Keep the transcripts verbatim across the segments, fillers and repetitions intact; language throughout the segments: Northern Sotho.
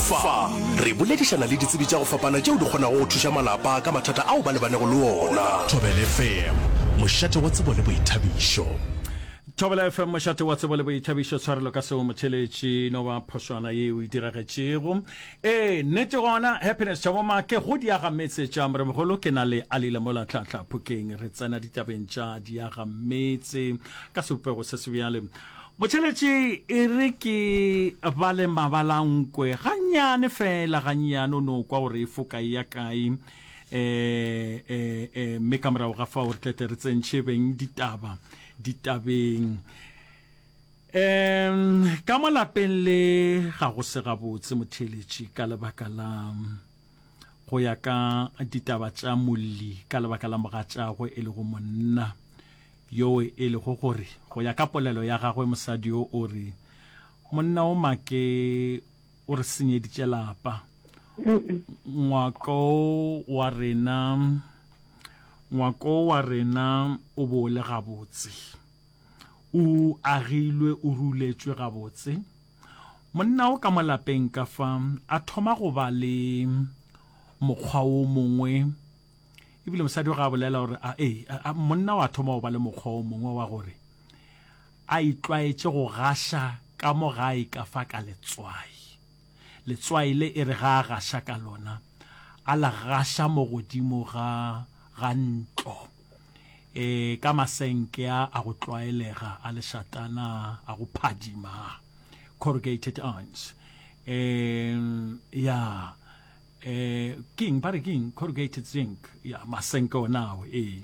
Fa re boledišana le ditsebi tša go fapana tšeo di kgonago go thuša malapa ka mathata ao ba lebanego le ona. Thobela F M, mošate wa tsebo le boithabišo. Thobela F M, mošate wa tsebo le boithabišo. Tshwarelo ka seo motheletši, no ba phošwana ye o e diragetšego. Ee, nnete gona, Happiness Thabo Make, go diagametse tša Moremogolo, ke na le Alile mola Tlhahla Phokeng. Re tsena ditabeng tša diagametse ka sebopego se sebjale. Motheletši, e re ke bale mabalankwe gannyane fela, gannyane, o no kwa gore e foka e ya kae. Eh, eh, eh, mme ka morago ga fao re tlete re tsentšhe beng ditaba ditabeng. Um, ka mo lapeng le ga go se gabotse motheletši ka lebaka la go ya ka ditaba tša molli, ka lebaka la mogatšagwe e lego monna yo e lego gore go ya ka polelo ya gagwe mosadi yo o re monna o make o re senyeditše lapa. Ngwako wa rena, ngwako wa rena o bo le gabotse, o agilwe, o ruletšwe gabotse. Monna o ka mo lapeng ka fa a thoma go ba le mokgwa o mongwe, ebile mosadi o ga a bolela gore a, ee, a, a, monna wa thoma go ba le mokgwa o mongwe wa gore a itlwaetše go gaša ka mo gae ka fa ka letswai. Letswai le e re ga a gaša ka lona, a la gaša mo godimo ga, ga ntlo. E, ka masenke a a go tlwaelega, a lešatana, a go phadima, corrugated irons. E, ya, e, keng, ba re keng, corrugated zinc, ya, masenke ona ao, ee.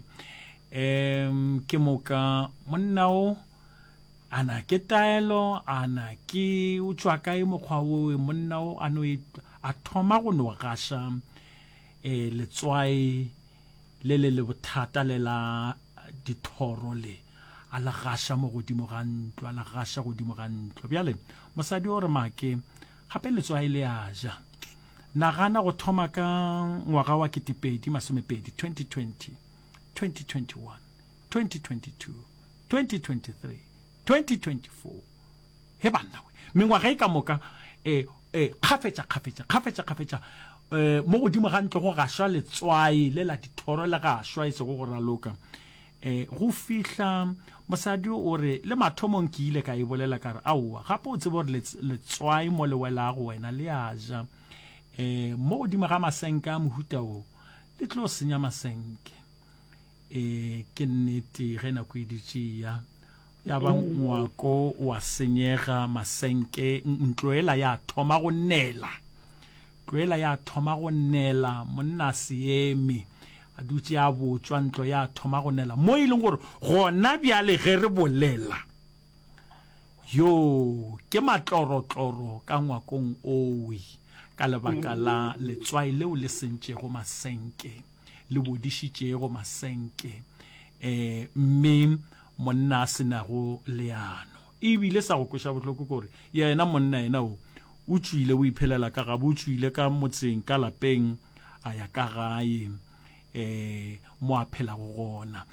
E, ke moka monna o, ana ke taelo, ana ke o tšwa kae mokgwa o, monna o a no e, a thoma go no gaša, e, letswai le le le bothata le la dithoro le, a la gaša mo godimo ga ntlo, a la gaša godimo ga ntlo. Bjale mosadi o re make gape letswai le a ja. Nagana go thoma ka ngwaga wa ketepedi masomepedi, twenty twenty, twenty twenty-one, twenty twenty-two, twenty twenty-three, twenty twenty-four. He banna we, mengwaga e ka moka, eh, eh, kgafetša, kgafetša, kgafetša, kgafetša, eh, mo godimo ga ntlo go gašwa letswai le la dithoro le gašwa e sego go raloka. Eh, go fihla mosadi o re le mathomong ke ile ka e bolela ka re aowa, gape o tsebe gore lets-, letswai mo le welago wena le a ja. Eh, mo godimo ga masenke a mohuta o, le tlo senya masenke. Eh, ke nnete ge nako e dutše e ya, ya ba ngwako wa senyega, masenke, ntlo ela ya thoma go nela. Ntlo ela ya thoma go nela, monna a se eme, a dutše a botšwa, ntlo ya thoma go nela. Mo e leng gore gona bjale ge re bolela, yo ke matlorotloro ka ngwakong owe, ka lebaka la letswai leo le sentšego masenke, le bodišitšego masenke, eh, mme monna a senago leano. Ebile sa go kweša bohloko ke gore yena monna yena o, o tšwile, o iphelela ka gabo, o tšwile ka motseng, ka lapeng, a ya ka gae, eh, mo a phelago gona.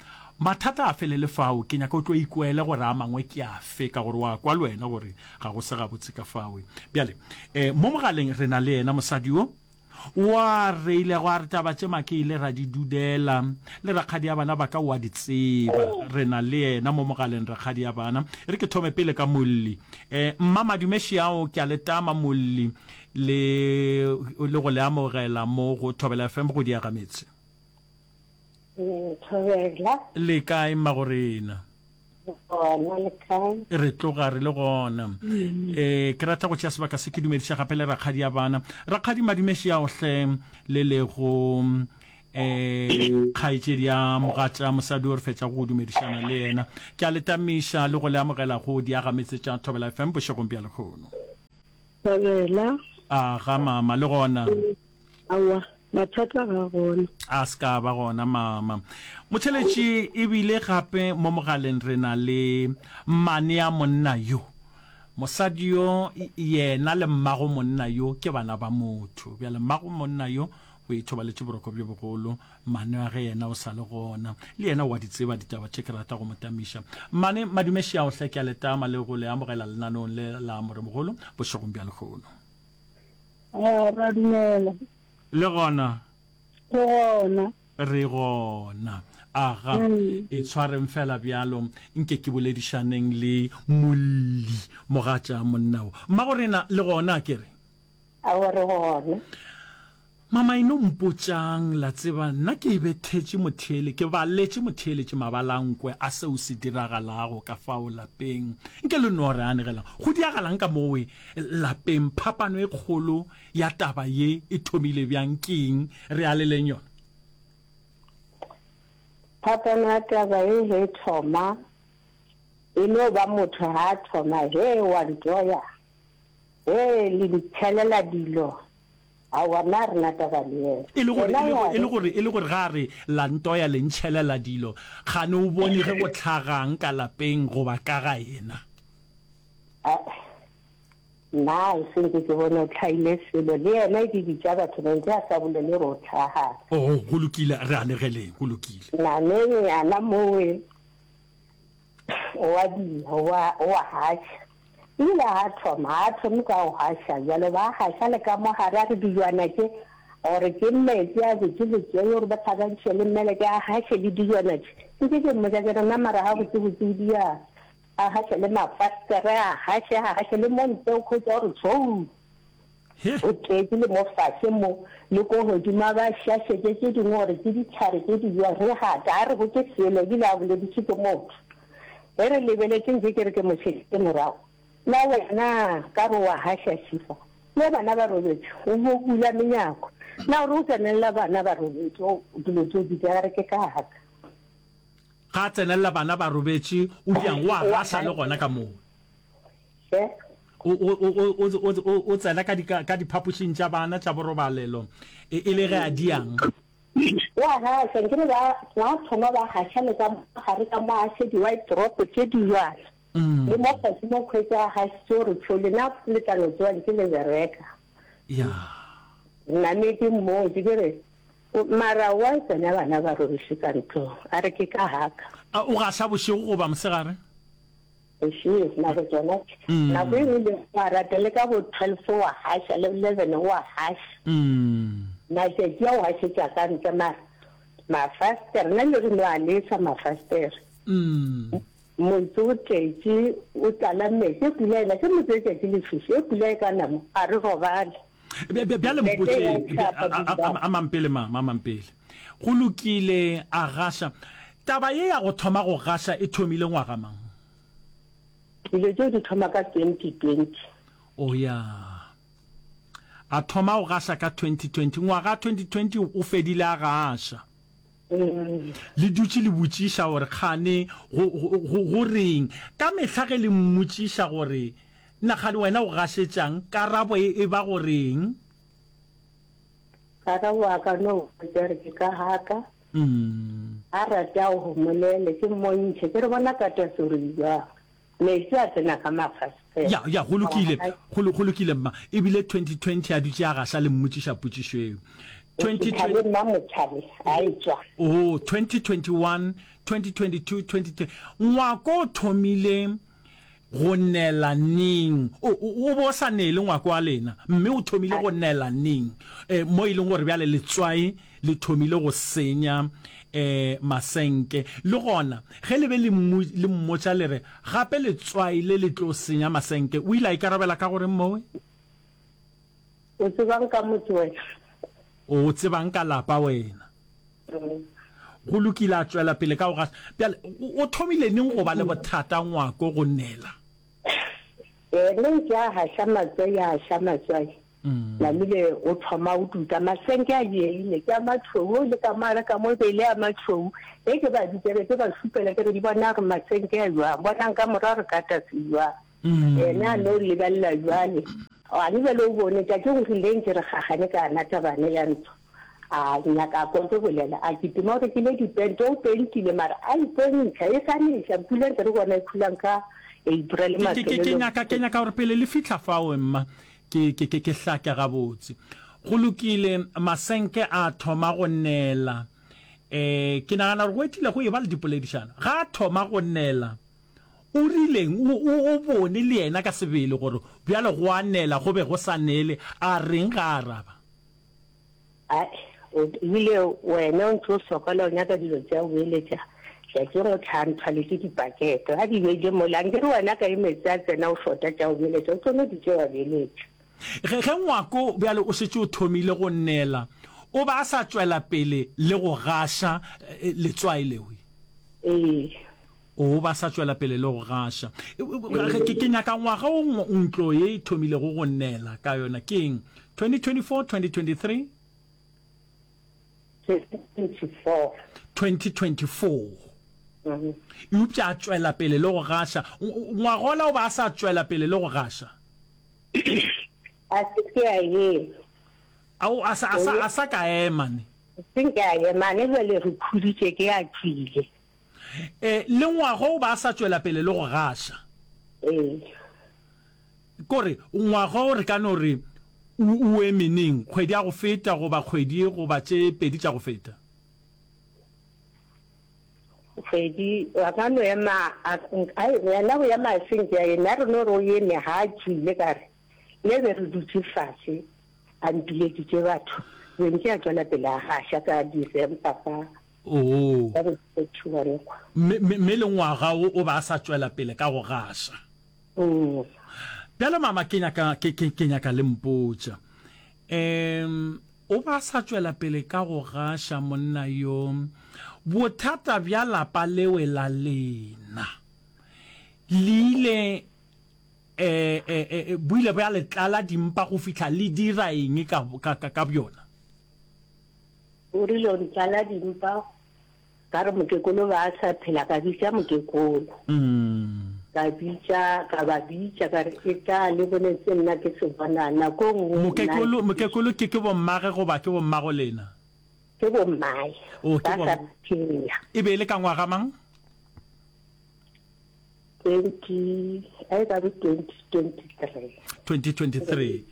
Mathata a felele fao, ke nyaka o tlo ikwele gore a mangwe ke afe, ka gore wa kwa le wena gore ga go se gabotse ka fao. Bjale, eh, mo mogaleng re na le yena mosadi yo wa reile go a re taba tše make ile ra di dudela, le rakgadi ya bana ba ka wa di tseba. Re na le yena mo mogaleng rakgadi ya bana. E re ke thome pele ka molli. Eh, mma Madumeši ao ke a le tama molli le, le go le amogela mo go Thobela F M go diaga metse. Thobela. Le kae mmagorena? Gona le kae? Re tloga re le gona. Eh, ke rata go tšea sebaka se ke dumediša gape le rakgadi ya bana. Rakgadi Madumeši ao hle le lego, eh, kgaetšedi ya mogatša mosadi o re fetša go dumedišana le yena. Ke a le tamiša le go le amogela go diaga metse tša Thobela F M bošegong bja lehono. Thobela. A ga mama le gona. Aowa, mathata ga gona. A se ka ba gona mama. Motheletši ebile gape mo mogaleng re na le mmane ya monna yo. Mosadi yo yena le mmago monna yo ke bana ba motho. Bjale mmago monna yo o ithobaletše boroko bjo bogolo, mmane wa ge yena o sa le gona. Le yena wa di tseba ditaba tše ke rata go mo tamiša. Mmane Madumeši ao hle ke a le tama le go le amogela lenaneong le la Moremogolo bošegong bja lehono. Ah, ra dumela. Le gona? Re gona. Re gona. Aga, Mm. e tshwareng fela bjalo, nke ke boledišaneng le molli, mogatša monna wo. Mmagorena, le gona, a ke re? Aowa, re gona. Mama, e no mpotšang, la tseba, nna ke bethetše motheele, ke baletše motheeletše mabalankwe a seo se diragalago ka fao lapeng. Nke le no re anegelang, go diagalang ka mowe lapeng, phapano e kgolo ya taba ye e thomile bjang, ke eng, re aleleng yona? Phapano ya taba ye ge e thoma, e no ba motho ga a thoma, Hee, wa ntoya, hee, le ntšhelela dilo, aowa, nna ga re na taba le yena. E le gore, Yena e le wa gore, e le re. gore, e le gore ga a re la ntoya le ntšhelela dilo, kgane o bone ge go hlagang ka lapeng goba ka ga yena? Ae, nna e se nke ke bone o hlahile selo, le yena e ke bitša batho ba ntše a sa bolele gore o hlagang. Oh, go lokile, re anegeleng, go lokile. Nameng yana mowe o a dia, o a, o a gaša. Ebile ga a thoma, ga a thome ka go gaša bjalo, ba gaša le ka mo gare, a re dijwana tše, gore ke metsi a botse botse, gore ba hlakantšhe le mmeleke, a gaše le dijwana tše. Nke ke mmotša ke re, nna mara gabotsebotse o diang? A gaše le mafastere, a gaše, a gaše le mo ntle, o khwetša gore tshou, o tletše le mo fase mo, le ko godimo, a ba šašetše tše dingwe gore ke dihlare tše di jwa, re gata, a re botše selo, ebile a bolediše ke motho. Ge re lebeletše nke ke re ke mo šeditše morago, na wena ka re wa gaša šifa, le bana ba robetše, o bo bula menyako, na o re o tsenelela bana ba robetše, o dilo tšeo di dira re ke ka ka. Ga a tsenelela bana ba robetše, o diang? O a gaša le gona ka moo. He? O, o, o, o, o, o, o tsena ka di, ka, ka diphapošing tša bana tša borobalelo, e, e le ge a diang? O a gaša, nkere ba, ba thoma ba gaša le ka mo gare ka mo a še di-white drop tše di bjalo. Le mo fase mo khwetša a gašitše gore tšho lena le tla no tšewa ntše le bereka. Ya. Name ke mmotše ke re, Mara wa tsena bana ba robeše ka ntlong, a re ke ka gaka. A o gaša bošego goba mosegare? Bošego, nako tšona tše. Nako e nngwe le wa rata le ka bo twelve wa gaša, le eleven wa gaša. Matšatši a o gašetša ka ntle mara mafastere, nna le re no a lesa mafastere. Motse o tletše, o tlala metsi, e pula ena, ke motse letšatši le fiša, e pula e ka na mo, ga re robale. Bjale mpotšeng, amang pele mama, amang pele. Go lokile, a gaša. Taba ye ya go thoma go gaša e thomile ngwaga mang? Dilo tšeo di thoma ka twenty twenty. Oh ya. A thoma go gaša ka twenty twenty. Ngwaga twenty twenty o fedile a gaša. Le dutše le botšiša gore kgane go, go, go, go reng. Ka mehla ge le mmotšiša gore Na kgane wena o gašetšang? Karabo e e ba go reng? Karabo a ka no botša re ke ka gaka. A rate a o homolele, ke mmontšhe, ke re bona katasori e bjang. Metsi a tsena ka mafastere. Ya, ya, go lokile, go, go lokile, mma. E bile twenty twenty a dutše a gaša le mmotšiša potšišo eo. Twenty twenty. Motšhale, mma Motšhale, a etšwa. Oh, twenty twenty one, twenty twenty two, twenty twenty, ngwako o thomile Go nela neng? O, o, o be o sa nele ngwako wa lena, mme o thomile go nela neng? E, mo e leng gore bjale letswai le thomile go senya, e, masenke. Le gona, ge le be le mmu, le mmotša le re, Gape letswai le le tlo senya masenke, o ile a ikarabela ka go reng mowe? O tsebang ka motse wena? O tsebang ka lapa wena? Go lokile, a tšwela pele ka go gaša. Bjale, o thomile neng go ba le bothata ngwako go nela? Yena ntše a gaša matswai, a gaša matswai. Namile o thoma o tuka. Masenke a dieile, ke a matšhweu, o le ka mo a re ka mo e be e le a matšhweu. Ge ke ba bitša be ke ba šupela ke re di bona gore masenke a bjang, bonang ka morago re ka tase bjang. Yena a no lebelela bjale. Gane bjale o bone tšatši go rile ntše re gagane ka yona tabane ya ntlo. A nyaka a kwa ke bolela, a kitima o rekile dipente, o pentile mara a ipontšha e sa neša pula ntse re bona e phulang ka April Ke, ke, ke, ke mafelelong. nyaka, ke nyaka gore pele le fihla fao, mma, ke, ke, ke, ke hlake gabotse. Go lokile, masenke a thoma go nela. Eh, ke nagana gore go etile go eba le dipoledišano. Ga a thoma go nela, o rileng? O, o, o bone le yena ka sebele gore Bjale go a nela, go be go sa nele. A reng ga a araba? Ai, o ebile wena o ntse o sokola o nyaka dilo tša go beeletša, tšatšing o tla nthwaletše dipakete. A di beile mola, nkere wena ka e meetse a tsena o šota tša go beeletša, o tlo no di tšea wa beeletša. Ge, ge ngwako bjale o šetše o thomile go nela, o ba a sa tšwela pele le go gaša letswai lewe? Ee. O ba sa tšwela pele le go gaša. Ke, ke nyaka ngwaga wo ntlo ye e thomilego go nela ka yona. Ke eng? twenty twenty-four, twenty twenty-three? twenty twenty-four. twenty twenty-four. Eupša a tšwela pele le go gaša. Ngwagola o ba a sa tšwela pele le go gaša. A se ke a ema. Ao, a sa, a sa, a sa ka ema ne. Se nke a ema ne, bjale re khuditše ke a tšwile. E, le ngwaga o ba a sa tšwela pele le go gaša. Ee. Kore, ngwaga o re ka no re o, o eme neng? Kgwedi ya go feta goba kgwedi goba tše pedi tša go feta? Kgwedi, a ka no ema, a, a, yena go ema a se nke a eme, a re no re o eme, ga a tšwile, ka re, le be re dutše fase, a mpileditše batho, be nke a tšwela pele a gaša ka December ka. Oo. Ka bo thirty one kwa. Mme, mme, mme le ngwaga wo o ba a sa tšwela pele ka go gaša. Mm. Bjale mama ke nyaka, ke, ke, ke nyaka le mpotša. Um, o ba a sa tšwela pele ka go gaša monna yo. Bothata bja lapa lewe la lena le ile, eh, eh, eh, bo ile bja le tlala dimpa go fihla le dira eng ka, ka, ka, ka bjona? O rile o ntlala dimpa, ka re mokekolo ba sa phela, ka bitša mokekolo. Ka bitša, ka ba bitša, ka re e tla le bone se nna ke se bona nako e nngwe. Mokekolo, mokekolo ke ke bommage goba ke bommago lena? Ke bommae. O, ke Ba bom. sa phela. E be e le ka ngwaga mang? Twenty, a e ka be twenty twenty-three. Twenty twenty-three.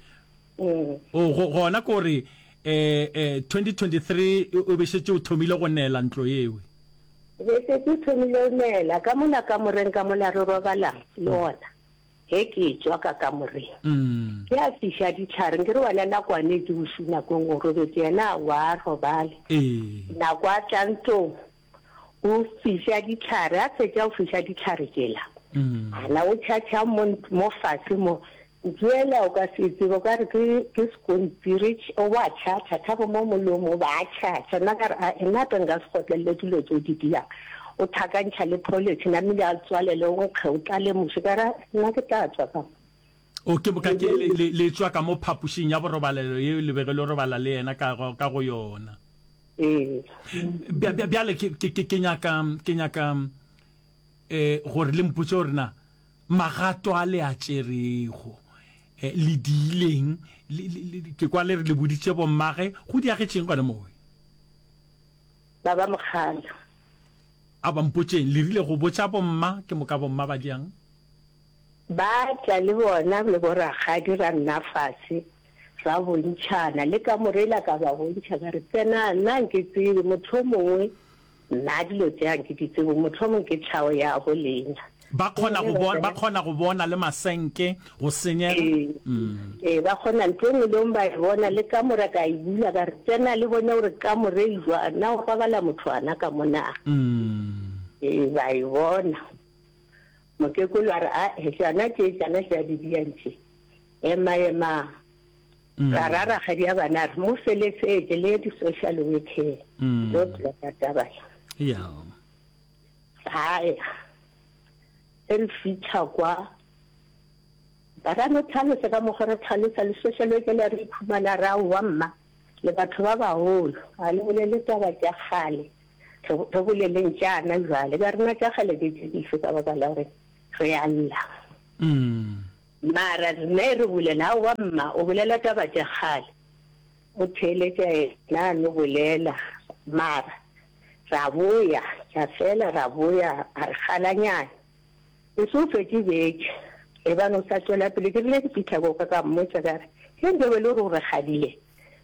Mm. O, go, gona ko re, eh, eh, twenty twenty-three o be šetše o thomile go nela ntlo yewe. Be šetše o thomile go nela, ka mola kamoreng ka mola re robalang le ona, ge ke tšwa ka kamoreng. Mm. Ke a fiša dihlare, nke re wena nakwane ke bošu nakong o robetše, yena wa robale. Ee. Nako a tla ntlong, o fiša dihlare, a fetša go fiša dihlare tšela. Mm. Ana o tšhatšha mo, mo fase mo, ntšwela o ka se tsebe, o ka re ke, ke sekontiri, o ba tšhatšha, thabo mo molomo, o ba tšhatšha. Nna ka re, a, nna hape nka se kgotlelele dilo tšeo di diang. O thakantšha le pholetšhe, namile a tswalele, o nkge, o tlale muši. Ka re, nna ke tla tšwa ka mo. O, ke boka ke le, le, le tšwa ka mo phapošing ya borobalelo yeo le bego le robala le yena ka, ka go yona. Ee. Bja, bja, bjale ke, ke, ke, ke nyaka, ke nyaka, eh, gore le mpotše gore na magato a le a tšerego, eh, le diileng, le, le, le, ke kwa le re le boditše bommage, go diagetšeng gona mowe? Ba ba mogala. A ba mpotšeng, le rile go botša bomma, ke moka bomma ba diang? Ba tla le bona le borakgadi ra nna fase, ra bontšhana, le kamore ela ka ba bontšha, ka re, Tsena, nna nke tsebe, mohlomongwe nna dilo tše a nke di tsebe, mohlomong ke tlhago ya bo lena. Ba kgona go bona, ba kgona go bona le masenke go senyega. Ee, ee, ba kgona ntho e nngwe le nngwe ba e bona, le kamora ka e bula, ka re, Tsena le bone gore kamore e jwang, na go robala motho ana ka mo na? Ee, ba e bona. Mokekolo a re, Ae, tšana tše, tšana tše a di diang tše. Ema, ema. Ra ra rakgadi ya bana a re, mo felesetše le ye di-social worker. Tlo phela ka taba ye. Ya. Ra ya. Ge re fihla kwa, ba ra no tlhalosa ka mokgwa re tlhalosa le social worker le re ikhumana ra aowa mma, le batho ba bagolo, ga le bolele taba tša kgale, re, re boleleng tšana jwale. Ka rena tša kgale ke tše dife ka baka la gore re a lla. Mara rena e re bolela, aowa mma, o bolela taba tša kgale. O theeletša yena a no bolela, mara ra boya, ra fela ra boya, a re kgalanyana. E se o fetše beke, e ba no sa tšwela pele. Ke rile ke fihla ko ka ka mmotša ka re, ge nke be le gore o re kgadile,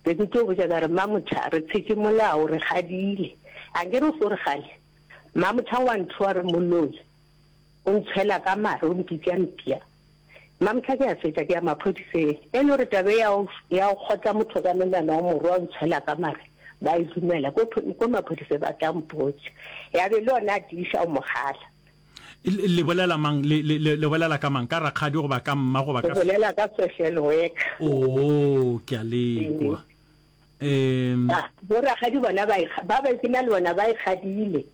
be ke tlo botša ka re, Mmamotha, re tshetše molao, re kgadile. A nke re o se o re kgale? Mmamotha wa nthoa re moloi, o ntshwela ka mare, o mpitša mpša. Mamtlha ke a fetša ke ya maphodiseng. E le gore taba e ya go ya go kgotla motho ka menwana wa morwa o ntshwela ka mare, ba e dumela. Ko ko maphodiseng ba tla mpotša. Ya be le yona a tiiša go mo kgala. Le, le bolela mang? Le, le, le, le bolela ka mang? Ka rakgadi goba ka mma goba Re ka. bolela ka social worker. Oo, ke a le kwa. Um. Ah, bo rakgadi bona ba e, ba ba ke na le bona ba e kgadile.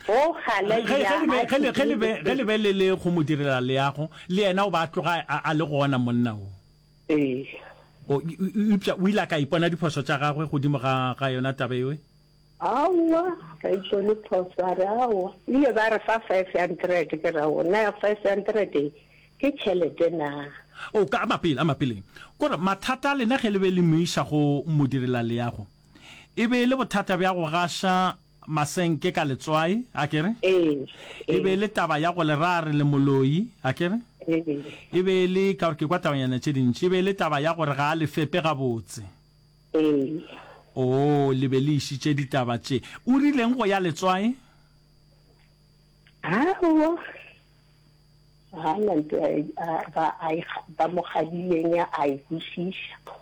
Go kgala Ge, ge ya le be, a ge le, ge le be, ge le tsebile. be le le go mo direla leago, le yena o ba a tloga a, a le gona monna wo. Ee. O, eupša o ile a ka ipona diphošo tša gagwe godimo ga, ga yona taba eo? Aowa, ga ipone phošo, a re aowa. Ile ba re fa five hundred, ke re aowa, na five hundred e ke tšhelete na? O, ka, a mapele, a mapeleng. Kore mathata a lena ge le be le mo iša go modirelaleago, e be e le bothata bja go gaša masenke ka letswai, a ke re? Ee, E be e ee. le taba ya go le ra re le moloi, a ke re? Ee. E be e le, ka gore ke kwa tabanyana tše dintši, e be e le taba ya gore ga a le fepe gabotse. Ee. Oo, le be le išitše ditaba tše. O rileng go ya letswai? Aowa. Ga na nto a, a, ba, a e, ba mo kgadileng a e kwešiša.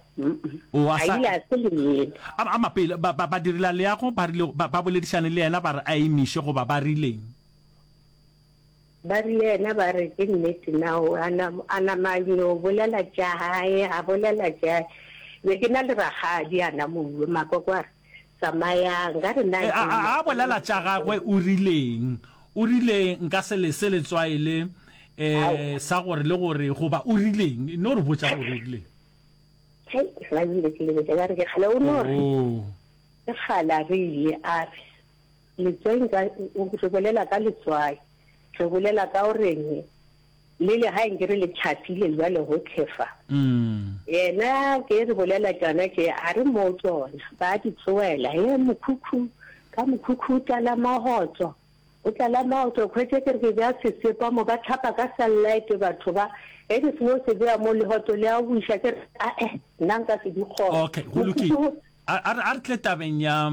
O, a A sa. ile a se le yena. A, a mapele, ba, ba, badirelaleago ba rile, ba, ba boledišane le yena ba re a emiše goba ba rileng? Ba rile yena ba re ke nnete na o, a na, a nama a no bolela tša hae, a bolela tša, be ke na le rakgadi a na mo uwe, makoko a re, Tsamayang, ka re na E, a, ke a, a bolela tša gagwe o rileng? O rile nka se lese letswai le, e, sa gore le gore, goba o rileng? No re botša gore o rileng. Hei, ga ebile ke lebetše ka re ke kgale o no re. Oh. Ke kgale a re ile a re, Letswai nka, re bolela ka letswai, re bolela ka o reng, le legae nke re le tšhafile bjale gohle fa. Mm. Yena ke re bolela tšona tše, a re mo tšona, ba di tsoela, he mokhukhu, ka mokhukhu o tlala mahotso. O tlala maoto, khwetše ke re ke bea sesepa mo, ba hlapa ka sunlight batho ba, ge ke seno se bea mo lehoto le a buša, ke re ae, nna nka se di kgone. Okay, go lokile. Mokhukhu. A, a re, a re tle tabeng ya,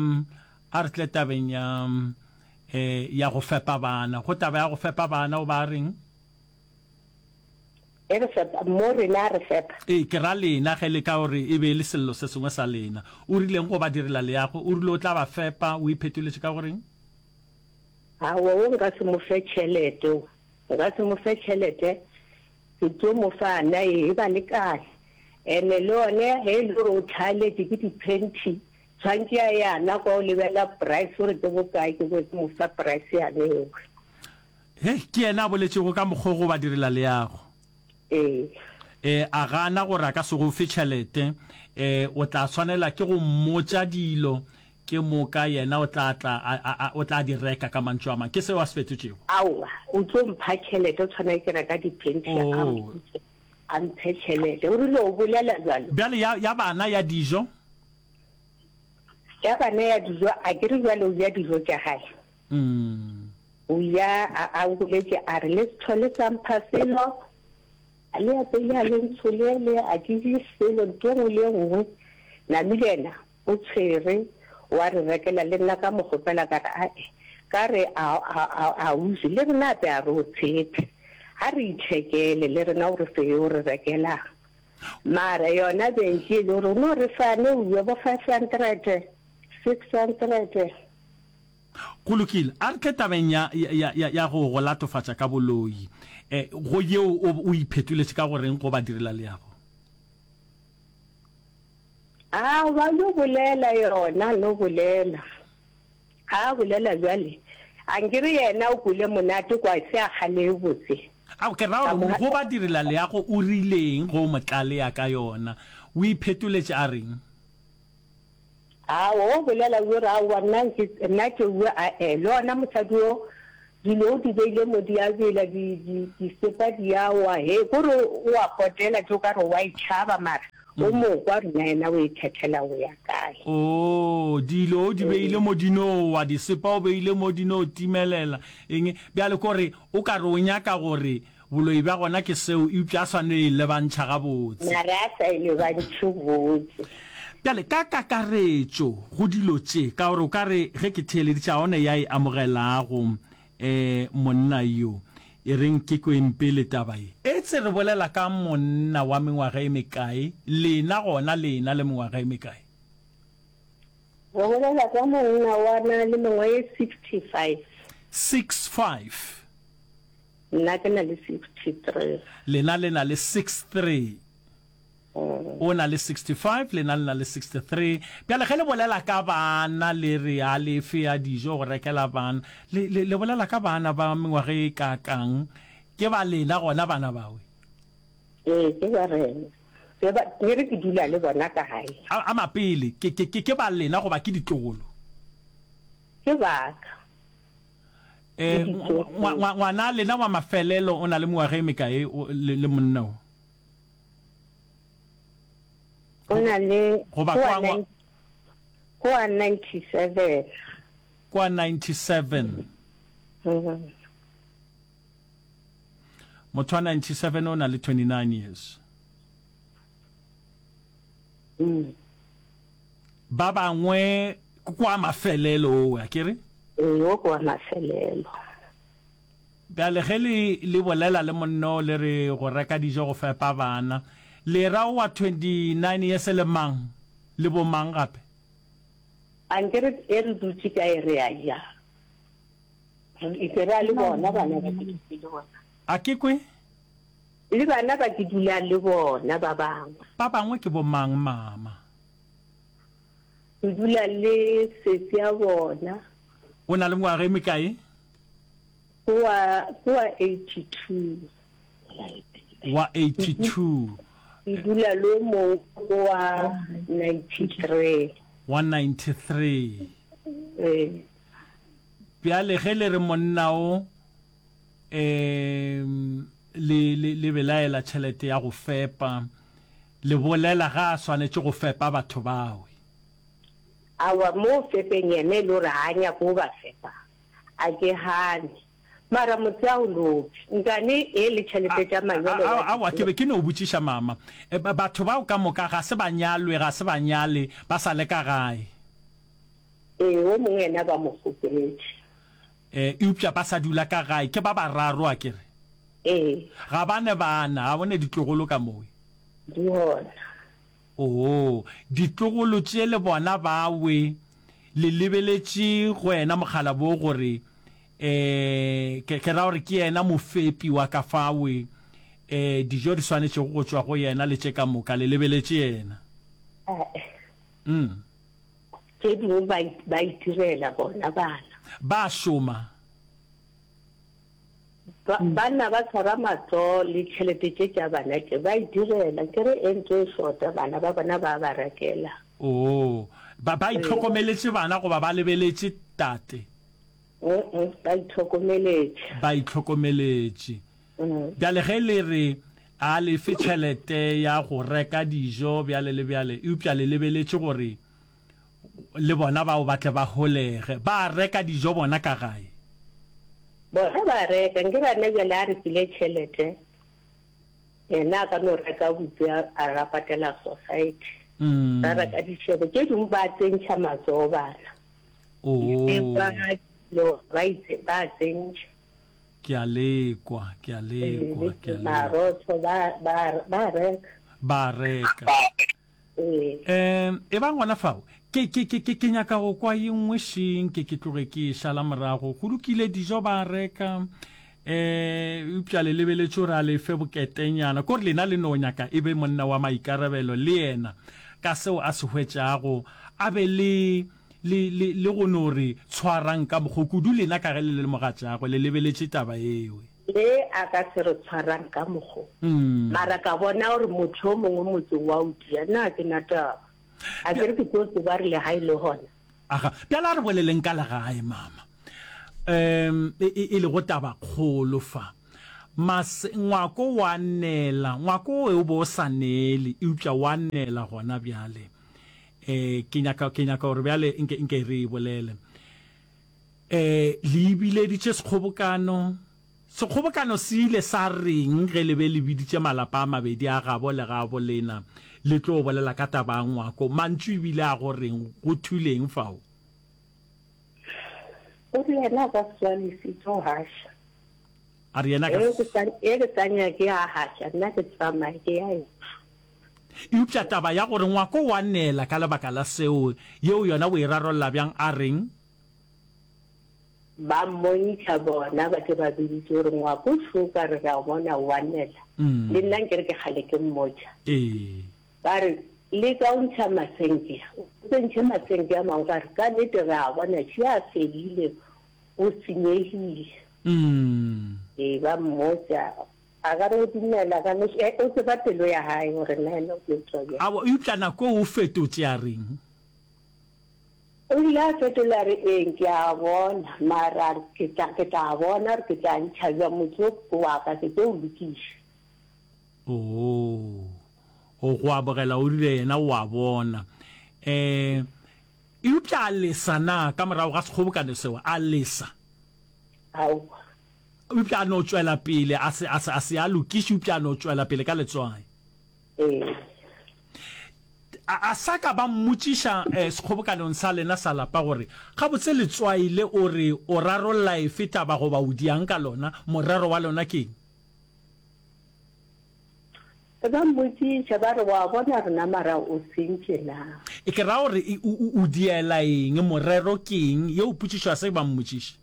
a re tle tabeng ya, eh, ya go fepa bana. Go taba ya go fepa bana o ba reng? E re fepa, mo rena a re fepa. Ee, ke ra lena ge le ka gore e be e le sello se sengwe sa lena. O rileng go ba direla leago? O rile o tla ba fepa, o iphetoletše ka go reng? Aowa, wo nka se mo fe tšhelete, wo nka se mo fe tšhelete, ke tlo mo fa na e ba lekane. Ene le yone ge e le gore o tlhaeletše ke di-panty, tshwantše a yana kwa o lebela price gore ke bokae, ke bo ke mo fa price yane eo. Hei, ke yena a boletšego ka mokgwa wo go ba direla leago. Ee. E, a gana gore a ka se go fe tšhelete, e, o tla swanela ke go mmotša dilo Ke moka yena o tla tla a, a, a, o tla di reka, ka mantšu a mang. Ke seo a se fetotšego. Aowa, o tlo mpha tšhelete, o tshwana ke reka diphentšhe, a Oo. mpotše, a mphe tšhelete. O rile o bolela bjalo? Bjale ya, ya bana ya dijo? Ya bana ya dijo, a ke re bjale o ja dijo tša gae? Mm. O ja, a, a boletše a re, Le se hlole sa mpha selo, a le apeile a le ntsholele, a ke je selo, ntho e nngwe le e nngwe. Namile yena O tshwere wa re rekela le nna ka mo kgopela ka re ae ka re a a a ausi le rena ape a re o tshepe a re ithekele le rena o re fe yo re rekelang mara yona bentši e le gore o no re fa ne uwe bo five hundred six hundred. Go lokile, a re tle tabeng ya, ya, ya, ya go go latofatša ka boloi. E, go yeo o, o iphetoletše ka go reng go badirelaleago? A ba no bolela yona, no bolela. A bolela bjale. A nkere yena o kwele monate kwa se a kgale botse. Ao, ke ra Ka gore mo go ba direla leago o rileng go mo tlalea ka yona? O iphetoletše a reng? Ao, o bolela o re aowa nna nke, nna ke ue ae. Le ona mosadi o, dilo o di beile mo di a bela, di, di, disepa di a wa, he, ko re o a potela tše o ka re o a e tšhaba mara o mo kwa gore na yena o e thethela go ya kae. Oo, dilo o di beile mo di no wa, disepa o beile mo di no timelela, eng, bjale ko re o ka re o nyaka gore Boloi bja gona ke seo, eupša a sa no e lebantšha gabotse. Mara a sa e lebantšhe botse. Bjale, ka kakaretšo, go dilo tše, ka gore o ka re ge ke theeleditše, ga go na ya e amogelago, eh, monna yo. E reng ke kweng pele taba ye. Etse re bolela ka monna wa mengwaga e mekae, lena gona lena le mengwaga e mekae? Re bolela ka monna wa na le mengwaga e sixty five. Six five. Nna ke na le sixty three. Lena le na le six three. O na le sixty five, lena le na le sixty three. Bjale ge le bolela ka bana le re a le fe ya dijo go rekela bana, le, le, le bolela ka bana ba mengwaga e kaakang? Ke ba lena gona bana bawe? Ee, ke ba rena. Ke ba, ke re ke dula le bona ka gae. A, a mapele, ke, ke, ke, ke ba lena goba ke ditlogolo? Ke ba ka. Eh, ngwa, ngwana lena wa mafelelo o na le mengwaga e mekae o, le, le monna o? O na le Goba kwa ngwa- kwa ninety seven. Kwa ninety seven. Mm. Motho wa ninety seven o na le twenty nine years. Mm. Ba bangwe kwa mafelelo owe, a ke re? Ee, o kwa mafelelo. Bjale ge le, le bolela le monna o le re go reka dijo go fepa bana, le ra o wa twenty nine years le mang? Le bo mang gape? A nke re, e re dutše kae re a ja. Re ke ra le bona bana ba ke dutše le bona. A ke kwe? Le bana ba ke dulang le bona ba bangwe. Ba bangwe ke bo mang mama? Ke dula le sesi ya bona. O na le ngwaga e mekae? Kwa, kwa eighty two. Wa eighty two. Ke dula le o mongwe wa ninety three. Wa ninety three. Ee. Bjale ge le re monna o, em, le, le, le belaela tšhelete ya go fepa, le bolela ga a swanetše go fepa batho bawe. Aowa, mo fepeng yena e le gore ga a nyake go ba fepa, a ke gane. Mara motse a o lobe. Nkane e le tšhelete tša manyalo A, a, wa di aowa, ke be ke no botšiša mama. E, ba, batho bao ka moka ga se ba nyalwe, ga se ba nyale, ba sa le ka gae. Ee, o mongwe yena ba mo kgopetše. E, eupša ba sa dula ka gae, ke ba bararo, a ke re? Ee. Ga ba ne bana, ga bo ne ditlogolo ka mowe. Di gona. Oo, ditlogolo tše le bona bawe, le lebeletše go yena mokgalabo gore, eh, ke, ke ra gore ke yena mofepi wa ka fawe, eh, dijo di swanetšego go tšwa go yena le tše ka moka, le lebeletše yena. Ae. Mm. Tše dingwe ba, ba itirela bona bana. Ba šoma. Ba, banna ba tshwara matsogo le tšhelete tše tša bana tše, ba itirela. Ke re e ntse e shota, bana ba bona ba ba rekela. Oo, ba, ba itlhokomeletše bana goba ba lebeletše tate? Mm-mm, ba itlhokomeletše. Ba itlhokomeletše. Mm. Bjale ge le re a le fe tšhelete ya go reka dijo bjale le bjale, eupša le lebeletše gore le bona bao ba tle ba holege, ba reka dijo bona ka gae? Bona ba reka, nke bana bjale a re file tšhelete, yena a ka no reka bupi a, a ra patela society. Mm. Ba reka dišebo tše dingwe ba tsentšha matsogo bana. Oo. Ba, ba itse, ba tsentšha. Ke a lekwa, ke a lekwa, ke a lekwa. Marotho ba, ba, ba reka. Ba reka. Ee. Um, e bang gona fao, ke, ke, ke, ke, ke nyaka go kwa ye nngwe šeng, ke, ke tloge ke e šala morago. Go lokile, dijo ba reka, eh, eupša le lebeletše gore a le fe boketenyana. Kore lena le no nyaka e be monna wa maikarabelo le yena, ka seo a se hwetšago, a be le, le, le, le go no re tshwarang ka mokgo, kudu lena ka ge le le mogatšagwe, le lebeletše taba yeo. Le a ka se re tshwarang ka mokgo. Mara ka bona gore motho yo mongwe motseng wa o dia, nna ga ke na taba. A ke re ke tlo tseba re legae le gona. Aga, bjale a re boleleng ka legae, mama. Um, e, e, e lego tabakgolo fa. Mas, ngwako wa nela, ngwako o be o sa neele, eupša wa nela gona bjale. Eh, ke nyaka, ke nyaka gore bjale nke, nke re e bolele. Eh, le ibileditše sekgobokano. Sekgobokano se ile sa reng ge le be le biditše malapa a mabedi a gabo le gabo lena le tlo bolela ka taba ya ngwako? Mantšu e bile a go reng? Go thuleng fao? O re yena a ka se tswalise tšo gaša. A re yena ka E ke sa e ke sa nyake a gaša nna ke tsamaye ke ya ešo. Eupša taba ya gore ngwako wa nela ka lebaka la seo, yeo yona o e rarolla bjang? A reng? Ba mmontšha bona ba ke ba biditše gore ngwako šo ka re re a o bona wa nela. Le nna nkere ke kgale ke mmotša. Ee. Ba re, Leka o ntšha masenke, o se ntšhe masenke a mangwe ka re ka nnete re a bona še a fedile, go senyegile. Ee, ba mmotša. A ka no dumela, ka no, e, o tseba pelo ya hae gore na yena o tlo tšwa bjang. Aowa, eupša nako eo o fetotše a reng? O ile a fetola a re, Ee, ke a bona, mara a re, ke tla, ke tla bona gore ke tla ntšha bjang motse wo ke wa ka, ke tlo o lokiša. Oo, o go amogela, o rile yena o a bona. Um, eupša a lesa na, ka morago ga sekgobokano seo, a lesa? Aowa. Eupša a no tšwela pele, a se, a se, a se a lokiše, eupša a no tšwela pele ka letswai. Ee. A, a sa ka ba mmotšiša, eh, sekgobokanong sa lena sa lapa gore, Gabotse letswai le o re o rarolla efe taba goba o diang ka lona, morero wa lona ke eng? Ba mmotšiša ba re, Wa bona rena mara o sentše na? E ke ra gore o, o, o diela eng, morero ke eng? Yeo potšišo a se ba mmotšiše.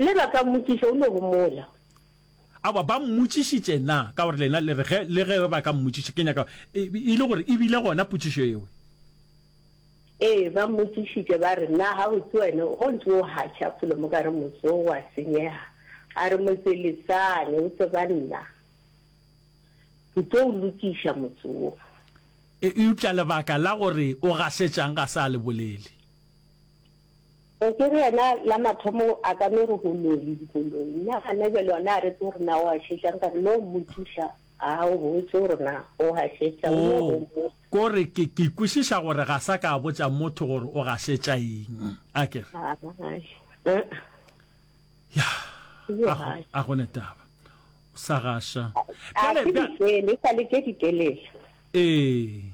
Le ba ka mmotšiša, o no homola. Aowa, ba mmotšišitše na? Ka gore lena le re ge, le ge ba ka mmotšiša, ke nyaka, e, e le gore e bile gona potšišo yeo. Ee, ba mmotšišitše ba re, Na gabotse wena o ntše o gaša felo mo ka re motse wo wa senyega? A re, Motse lesane, o tseba nna. Ke tlo o lokiša motse wo. E, eupša lebaka la gore o gašetšang ga se a le bolele. E ke re yena la mathomo a ka no re goloi, goloi. Nna gana bjale yona a re tsebe gore na o gašetšang, ka re no mmotšiša a o botse gore na o gašetšang, o no Oo, homola. ko re ke, ke kwešiša gore ga sa ka a botša motho gore o gašetša eng, a ke re? Ai, uh-uh. Ya, Ke yo a go, gaša. a go ne taba. O sa gaša. A Bjale, ke bja. di fele, e sa le tše ditelele. Ee.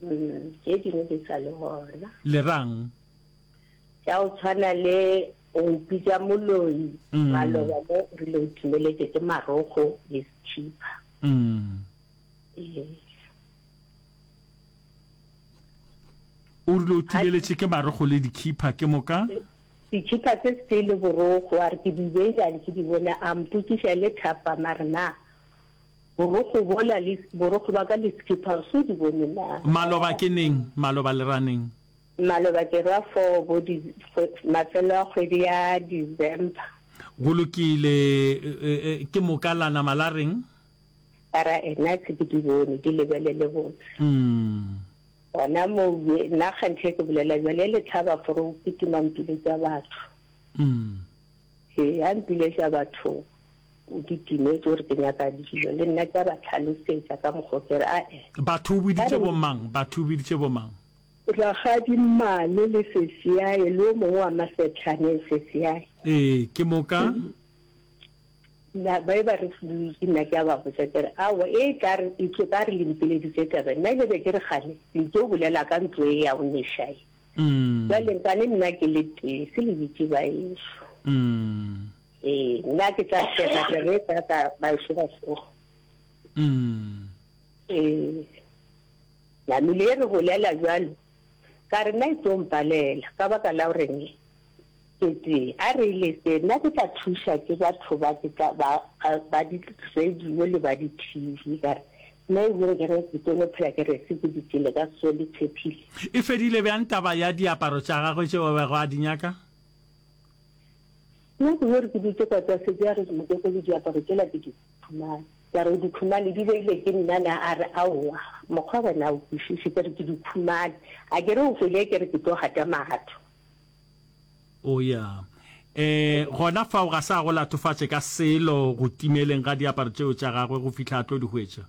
Mm, tše dingwe di sa le gona. Le rang? Tša go tshwana le go mpitša moloi, Mm. maloba mo o rile o timeletše ke marokgo le sethipa. Mm. Ee. O rile o timeletše ke marokgo le dikhipha, ke moka? Ditšhipa tse setee le borokgo, a re ke di beile ke di bone, a mpotšiša le thapama a re na borokgo bola le borokgo ba ka le sekhipha o se o di bone na? Maloba ke neng? Maloba le ra neng? Maloba ke ra four bo di, mafelo a kgwedi ya December. Go lokile, ke moka la nama la reng? Ba ra ena se ke di bone, di lebelele botse. Mm. Gona moo ye, nna kganthe ke bolela bjale, le hlaba fore o kitima mpiletša batho. Mm. Ee, a mpiletša batho, o kitimetše gore ke nyaka dilo, le nna ke a ba hlalosetša ka mokgwa o ke re, ae. Batho o Ba biditše re, bomang? Batho o biditše bomang? Rakgadi Mmane le sesiae, le o mongwe wa Masetlhaneng sesiae. Ee, ke moka. Na ba e ba re dutše, nna ke a ba botša ke re, Aowa, e tla re, e tlo ka re le mpileditše taba. Nna ke be ke re kgane le tlo bolela ka ntlo e ya go neša ye. Bjale nkane nna ke le tee, se le bitše baešo. Ee, nna ke tla sega taba e tla ka baešo ba tsoga. Ee, namile e re bolela bjalo, ka re nna e tlo mpalela ka baka la goreng Ke tee, a re lese, nna ke tla thuša ke batho ba ke tla ba, ba di radio le ba di T V, ka re, nna ebile ke re ke tlo no phela ke re se ke di tšele ka so le tshephile. E fedile bjang taba ya diaparo tša gagwe tšeo a bego a di nyaka? Nna ke yo re ke dutše kwa tlase ke a re mokokolo diaparo tšela ke di khumane. Ka re o di khumane di beile ke nna na? A re aowa mokgwa wena o kwešiše, ke re ke di khumane. A ke re o hwele ke re ke tlo gata magatho. O ya. E, gona fao ga se a go latofatše ka selo go timeleng ga diaparo tšeo tša gagwe go fihla a tlo di hwetša.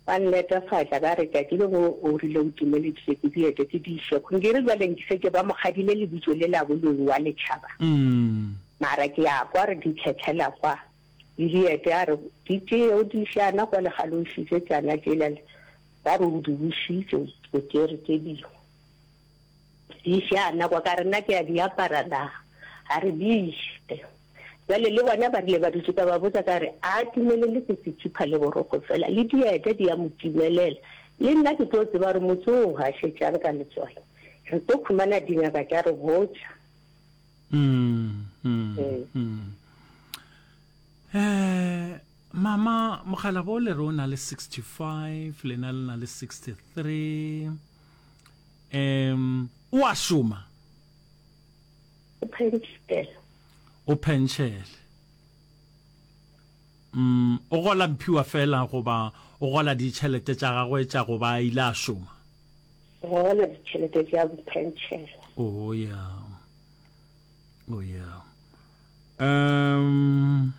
Ba nletafatša ba re, Tšatši le lengwe o rile o timeleditše ke dieta tše di išego. Nke re bjale nke šetše ba mo kgadile lebitso le la boloi wa letšhaba. Mara ke a kwa re di tlhetlhela kwa le dieta, a re di tšee o di iše ana kwa legale o išitše tšana tšela, ba re o di bušitše o tšere tše dingwe. Di iše ana kwa, ka re nna ke a di apara na? A re bište. Bjale le bona ba rile ba dutše ka ba botša ka re, A timelele ke setsipha le borokgo fela, le dieta di a mo timelela. Le nna ke tlo tseba gore motse wo o gašetšang ka letswai. Re tlo khumana dingaka tša re botša. Mm, mm, mm. Eh, mama, mokgalabo le re o na le sixty-five, lena le na le sixty-three. Um, o a šoma? O phentšhele. O phentšhele. Mm, o gola mphiwa fela goba o gola ditšhelete tša gagwe tša go ba a ile a šoma? O gola ditšhelete tša phentšhele. Oh, yeah. Oh, yeah. Um,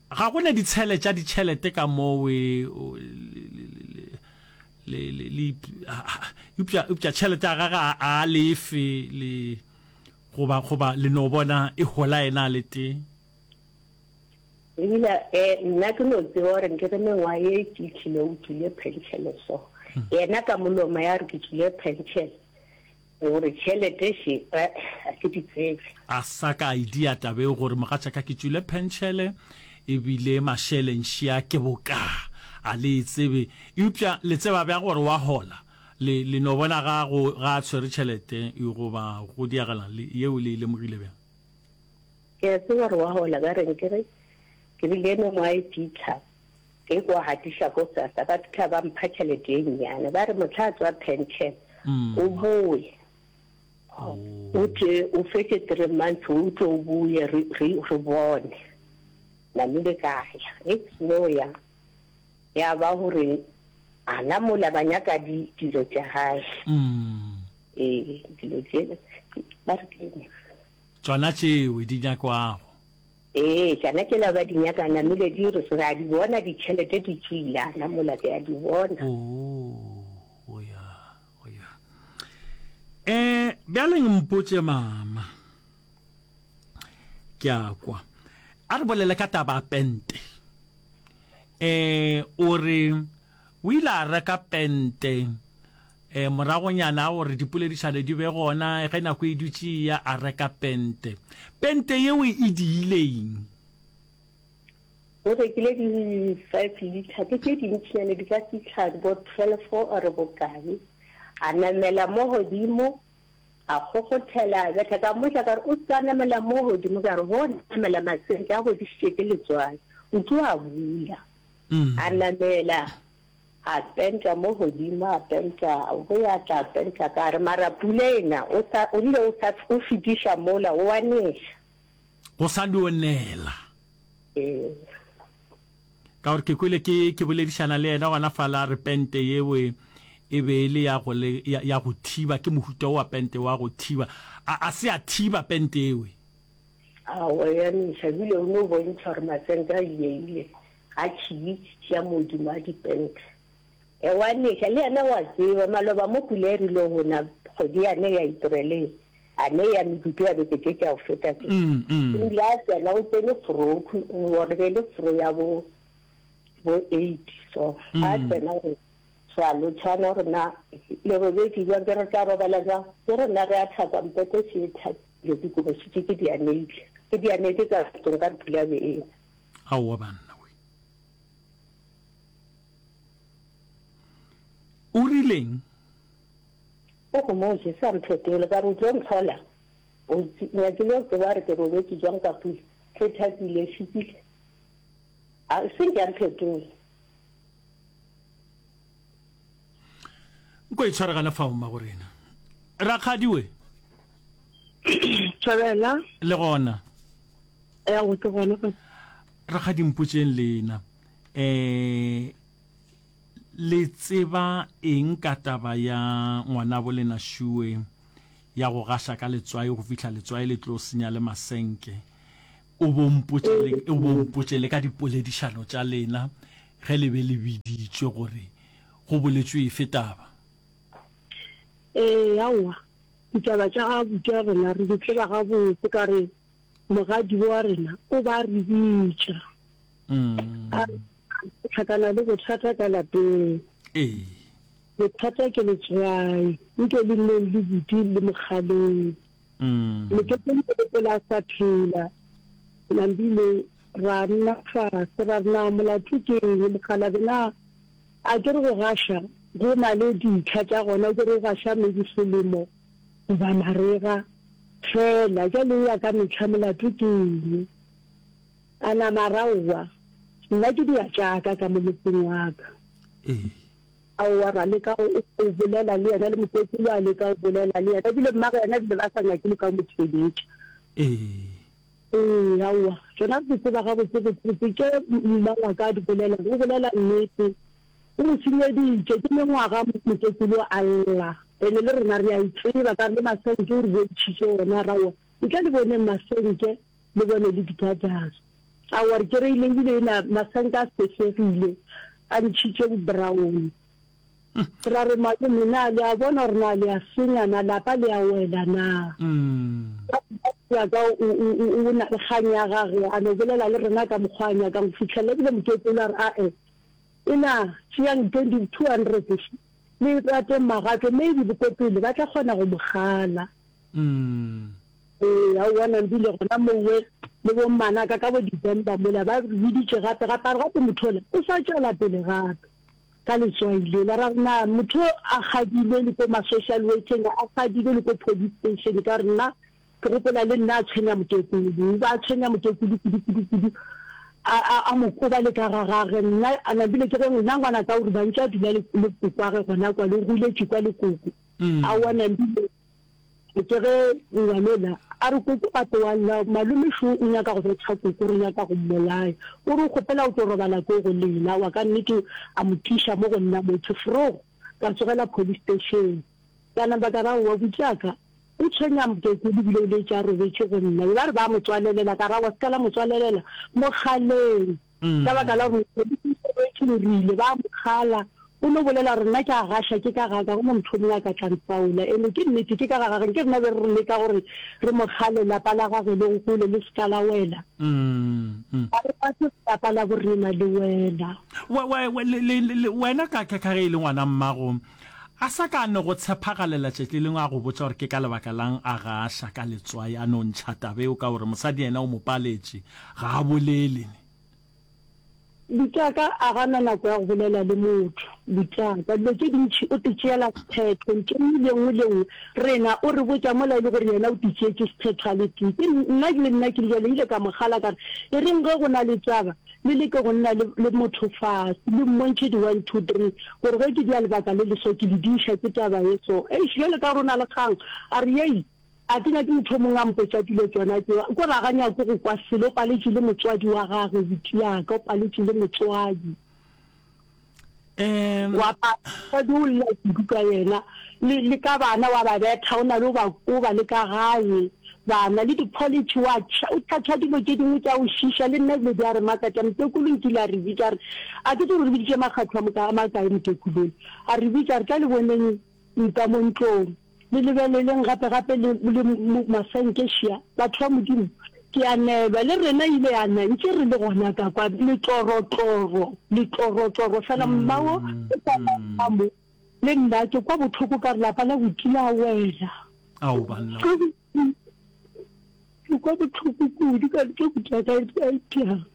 ga go ne ditshele tša ditšhelete ka moo e, le, le, le, eupša, eupša tšhelete ya gage a, a lefe le, goba, goba le no bona e hola yena a le tee? Ebile, eh, nna ke no tseba gore nke re mengwaga ye e fihlile o tšwile penšele so. Yena ka molomo ya re ke tšwile penšele. Gore tšhelete še, eh, a ke di tsebe. A sa ka a idia taba eo gore mogatšaka ke tšwile penšele ebile mašeleng šea ke bokaa. A le e tsebe. Eupša le tseba bjang gore wa hola? Le, le no bona ga go, ga a tshwere tšhelete goba go diagela, le, yeo le e lemogile bjang? Ke a tseba gore wa hola ka reng ke re, ke rile mengwaga e fitlha, ke kwa gatiša ko SASSA, ba fitlha ba mpha tšhelete e nnyane, ba re mohla a tswa pension, o boe, o tle o fetše three months o tle o boye re, re, re bone. Namile ka ya, ge ke seno ya, ya ba gore ana mola ba nyaka di, dilo tša gae. Ee, dilo tše, ba re ke eng? Tšona tšeo di nyakwago. Ee, tšona tšela ba di nyaka, namile di re, re a di bona ditšhelete di tšwile, ana mola ke a di bona. Oh, oh ya, oh ya. Eh, bjale mpotše mama. Ke a kwa. A re bolele ka taba ya pente. Eh, o re o ile a reka pente eh, moragonyana a gore dipoledišano di be gona, ge nako e dutše e ya a reka pente. Pente yeo e diile eng? O rekile di five litre, ke tše dintšinyane, di ka fihla bo twelve or bokae. A namela mo godimo, a kgokgothela, a betha. Ka mmotša ka re, o se ka namela mo godimo, ka re, go namela masenke a godišitše ke letswai, o tlo a bula. A namela, a penta mo godimo, a penta, o bo ya tla penta ka gare, mara pula ena, o sa, o rile o sa, o fetiša mola, o a neša. Go sa dio nela. Ee. Ka gore ke kwele ke, ke boledišana le yena gona fala, a re pente yeo e, e be e le ya go le, ya, ya go thiba, ke mohuta wo wa pente wa go thiba. A, a se a thiba pente yeo? Aowa, ya neša, ebile o no bontšha gore masenke a ile, a tšhitšhi ya modimo a dipente. E wa neša, le yena wa tseba, maloba mo pula e rile go na, kgwedi yane ya April, a ne ya medutu ya beke tše tša go feta tše. O ile a tsena, o tsene fro, gore be le fro ya bo, bo eight so. A tsena gore ra lotšhana gore na le robetše bjang, ke re tla robala bjang, ke re na re a thapa mpete še e thapile, dikobo šetše ke di aneile, ke di aneile ka ntlong ka re pula be e na. Aowa banna we. O rileng? O homotše, sa mphetole, ka re o tlo ntlhola. O nyakile go tseba gore ke robetše bjang ka pula. Re thapile, šupile. A se nke a mphetole. Nko e tshwaregane fao, mmagorena. Rakgadi we. Thobela. Le gona. Ya go ke gona. Rakgadi mpotšeng lena. Eh le tseba eng ka taba ya ngwanabo lena Shuwe ya go gaša ka letswai go fihla letswai le tlo senya le masenke? O bo mpotše le, o bo mpotše le ka dipoledišano tša lena ge le be le biditšwe gore go boletšwe efe taba? Ee, aowa, ditaba tša ga abuti wa rena re di tseba gabotse ka re mogadibo wa rena o ba re bitša. A re hlakana le bothata ka lapeng. Ee. Bothata ke letswai, nke le nneng le buti le mokgaleng. Moketeng o gopola a sa phela. Nambile ra nna fase ra re na molato ke eng mokgalabje na a ke re go gaša go na le ditlha tša gona ke re o gaša maybe selemo goba marega fela jwale e ya ka mehla molato ke eng a nama ra owa nna ke diya tša ka ka mo motseng wa ka. Ee. Aowa ra leka go go bolela le yena le mokokolo a leka go bolela le yena ebile mmagwe yena ebile ba sa nyake le ka mo theeletša. Ee. Ee, aowa tšona re di tseba gabotse botse tše mma wa ka a di bolelang, o bolela nnete. O mo senyeditše ke mengwaga mokokolo a lla ene le rena re a e tseba ka re le masenke o re bontšhitše ona ra owa ntle le boneng masenke le bone le dikadara. Aowa re kereile ebile ena masenke a sehlegile a ntšhitše bo brown. Ra re malome na le a bona gore na le a senya na lapa le a wela na? Ya ka o o o na le kgang ya gage a no bolela le rena ka mokgwa a nyakang go fihlelela ebile mokekolo a re ae ena tšeang twenty two hundred le rateng magato maybe bokopele ba tla kgona go mo kgala. Ee aowa Nambile gona mowe le bo mmanaka ka bo December mola ba re biditše gape gape a re gape motho ola o sa tšwela pele gape ka letswai lela ra re na motho a kgadilwe le ko ma social workeng a kgadilwe le ko police station ka re nna ke gopola le nna a tshwenya mokekulu o ba a tshwenya mokekulu kudu kudu kudu a a a mo koba le ka ga gage nna a Nambile ke ge nna ngwanaka o re ba ntše a dula le le kokwage gona kwa le goletše kwa le koko aowa Nambile Ke ge ngwanola a re koko gape wa lla, malome šo o nyaka go betha koko, re nyaka go mmolaya. O re o kgopela o tlo robala ko go lena. Wa ka nnete a mo tliša mo go nna motho. Vroeg ka tsogela police station. Ka napa ka re aowa butšaka o tshwenya mokekolo ebile o letše a robetše go nna. Be ba re ba mo tswalelela, ka re aowa se ka la mo tswalelela, mo kgaleng. Ka baka la gore maphodisa o rile ba mo kgala, o no bolela gore nna ke a gaša ke ka ga ka, go no motho o mongwe a ka tla ntaola. Ene ke nnete ke ka ga gage, nke rena be re leka gore re mo kgale lapa la gage le gole le se ka la wela. Ga re rate lapa la borena le wela. Wena ka ka ge e le ngwana mmago, a sa ka a no go tshephagalela tšatši le lengwe a go botša gore ke ka lebaka lang a gaša ka letswai a no ntšha taba eo ka gore mosadi yena o mo paletše, ga a bolele. Butšaka a ga na nako ya go bolela le motho. Butšaka dilo tše dintši o titšeela sephetho ntho e nngwe le nngwe le nngwe rena o re botša mola e le gore yena o titšeetše sephetho a le tee. Ke nna le nna ke le bjalo ile ka mo kgala ka re e reng ge go na le taba le leke go nna le le motho fase le mmontšhe di one two three gore ge ke dia lebaka le le so ke le diiša ke taba ye so. Eish bjale ka gore o na le kgang a re yei A ke nyake motho o mongwe a mpotša dilo tšona tšeo. Ko re a ga nyake go kwa selo, o paletšwe le motswadi wa gagwe, buti ya ka, o paletšwe le motswadi. Wa pala, motswadi o lla kudu ka yena, le, le ka bana wa ba betha, o na le o ba koba le ka gae, bana, le di-college wa tšha, o tšhatšha dilo tše dingwe tša go šiša, le nna dilo di a re makatša. Mokekolo nkile a re bitša, a re, a ke tsebe gore re biditše makgatho a moka, a makae mokekolo, a re bitša, a re tla le boneng nka mo ntlong. Le lebeleleng gape gape le, le masenke šia, batho ba Modimo. Ke a neelwa, le rena ile ya na ntše re le gona ka kwa, letlorotloro, letlorotloro fela. Mmago o sa ka mo, le nna ke kwa bohloko ka re lapa la buti la wela. Ao banna. Ke kwa bohloko kudu ka re ke buti wa ka a itiang.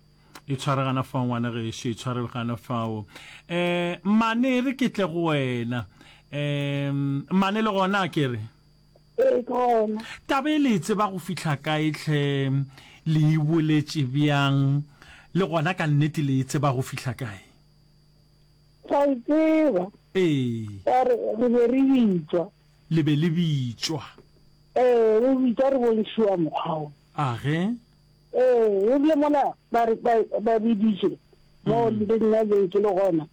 E tshware gana fao ngwana gešo, e tshware gana fao. Eh, mmane e re ke tle go wena. Eh, mmane le gona ke re. Ee, ke gona. Taba e le e tseba go fihla kae hle, le e boletše bjang, le gona ka nnete le e tseba go fihla kae? Ra e tseba. Ee. Ka re, re be re bitšwa. Le be le bitšwa. Ee, re bitšwa re bontšhiwa mokgwa wo. A ge? Ee, e rile mola ba re ba, ba biditše, mo le nna beng ke le gona,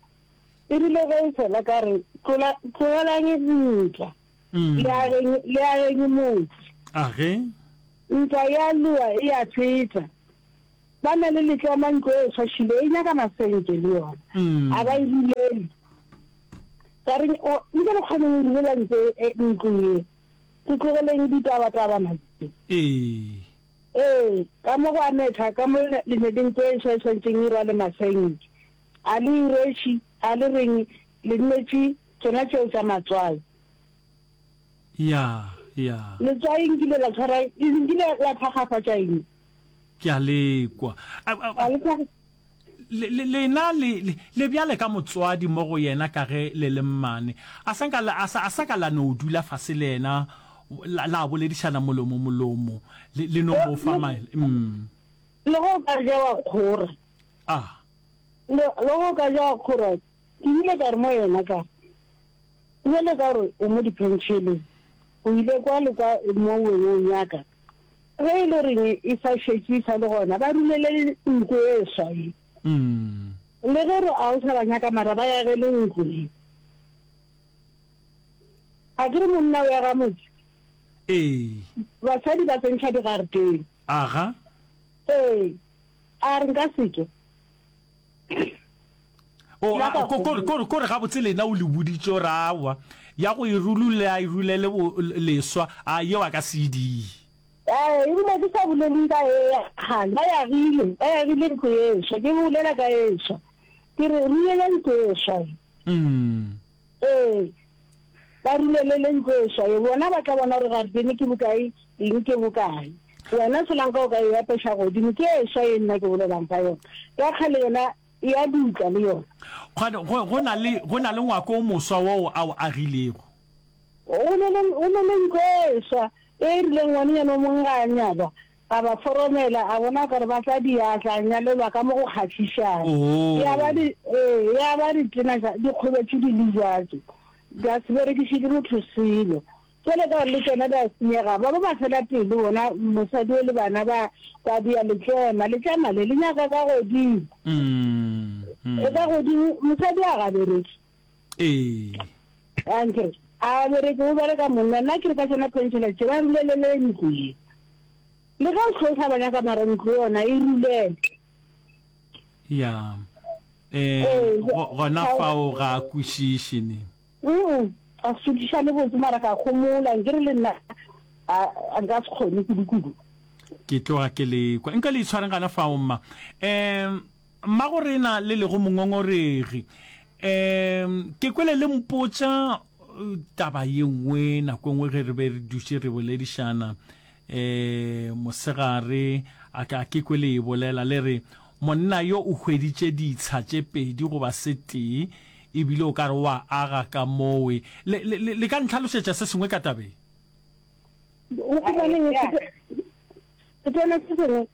e rile ge e fela ka re, Tlola, tlogelang ntwa, le ageng, le ageng motse. A ge? Ntwa ya lowa e a feta. Ba na le letlema ntlo e swašile, e nyaka masenke le yona. A ba e rulele. Ka re, O, nke le kgone go rulela ntlo e, ntlo ye. Re tlogeleng ditabatabana tše. Ee. Ee, ka mo go a metha, ka mo le ne le ntlo e swa e swantšeng e rwale masenke. A le e rweše, a le reng le nnetše tšona tšeo tša matswai. Ya, Ya. Letswai nkile la tshwara, nkile la thakgafatša eng? Ke a le kwa. A, a, A le thakga- le, le, lena le, le, le bjale ka motswadi mo go yena ka ge le le mmane. A sa nka la, a sa, a sa ka la no dula fase le yena, la, la boledišana molomo molomo, le, le no mo fa maele. Mm. Le ge o ka ja wa kgora. Ah. Le, le ge o ka ja wa kgora, ke ile ka re mo yena ka, bjale ka gore o mo diphenšheleng, o ile kwa le kwa mo weng o nyaka. Ge e le goreng e sa šetše e sa le gona, ba rulele ntlo e swa ye. Mm. Le ge re a o sa ba nyaka mara ba yagele ntlo ye. A ke re monna o ya ga motse? Ee. Basadi ba tsentšha digareteng. Aga. Ee. A re nka se ke. O, Nna a, ka ko, ko, gopola. ko, ko re gabotse lena o le boditše gore aowa, ya go e rulula, e rulele bo, leswa, a yeo a ka se e die. Ee, ebile ke sa bolele ka e ya kgale, ba yagile, ba yagile ntlo e swa, ke bolela ka e swa. Ke re, rulele ntlo e swa ye. Mm. Ee, ba rulelele ntlo e swa ye, bona ba tla bona gore garetene ke bokae, eng ke bokae. Wena solanka o ka e apeša godimo, ke e swa ye nna ke bolelang ka yona. Ya kgale yona e a dutla le yona. Kgane, go, go na le, go na le ngwako o moswa woo a o agilego. Go na le, go na le ntlo e swa e e rileng ngwanenyana o mongwe ga a nyalwa, a ba foromela, a bona o ka re ba tla diatla, a nyalelwa ka mo go kgahlišang. Oo. Ya ba di, ee, ya ba ditena tša, di kgobetše di le bjatso, di a se berekiše ke motho selo. Bjale ka gore le tšona di a senyega, ba ba ba fela pelo bona, mosadi o le bana ba, ba dia letšema, letšema le, le nyaka ka godimo. Mm, mm. E ka godimo, mosadi a ga bereke. Ee. A nkere, a bereke, o bereka monna, nna ke re ka tšona pension tše, ba rulelele ntlo ye. Le ge o hlosa ba nyaka mara ntlo yona e rulele. Ya. Eh, Ee, go-, gona ga o- fao ga a kwešiše ne. Mm, a se le botse mara ka gomola, nkere le nna a, a nka se kgone kudu-kudu. Ke tloga ke le kwa. Nka le itshwareng gana fao mma. Em, mma go rena le lego mongongoregi. Em, ke kwele le mpotša, eh, taba ye nngwe nako nngwe ge re be re dutše re boledišana, eh, mosegare, a ka ke kwele e bolela le re monna yo o hweditše ditsha tše pedi goba se tee, ebile o ka re wa aga ka mowe. Le, le, le, le ka ntlhalosetša se sengwe ka tabeng? O humaneng setena se sengwe?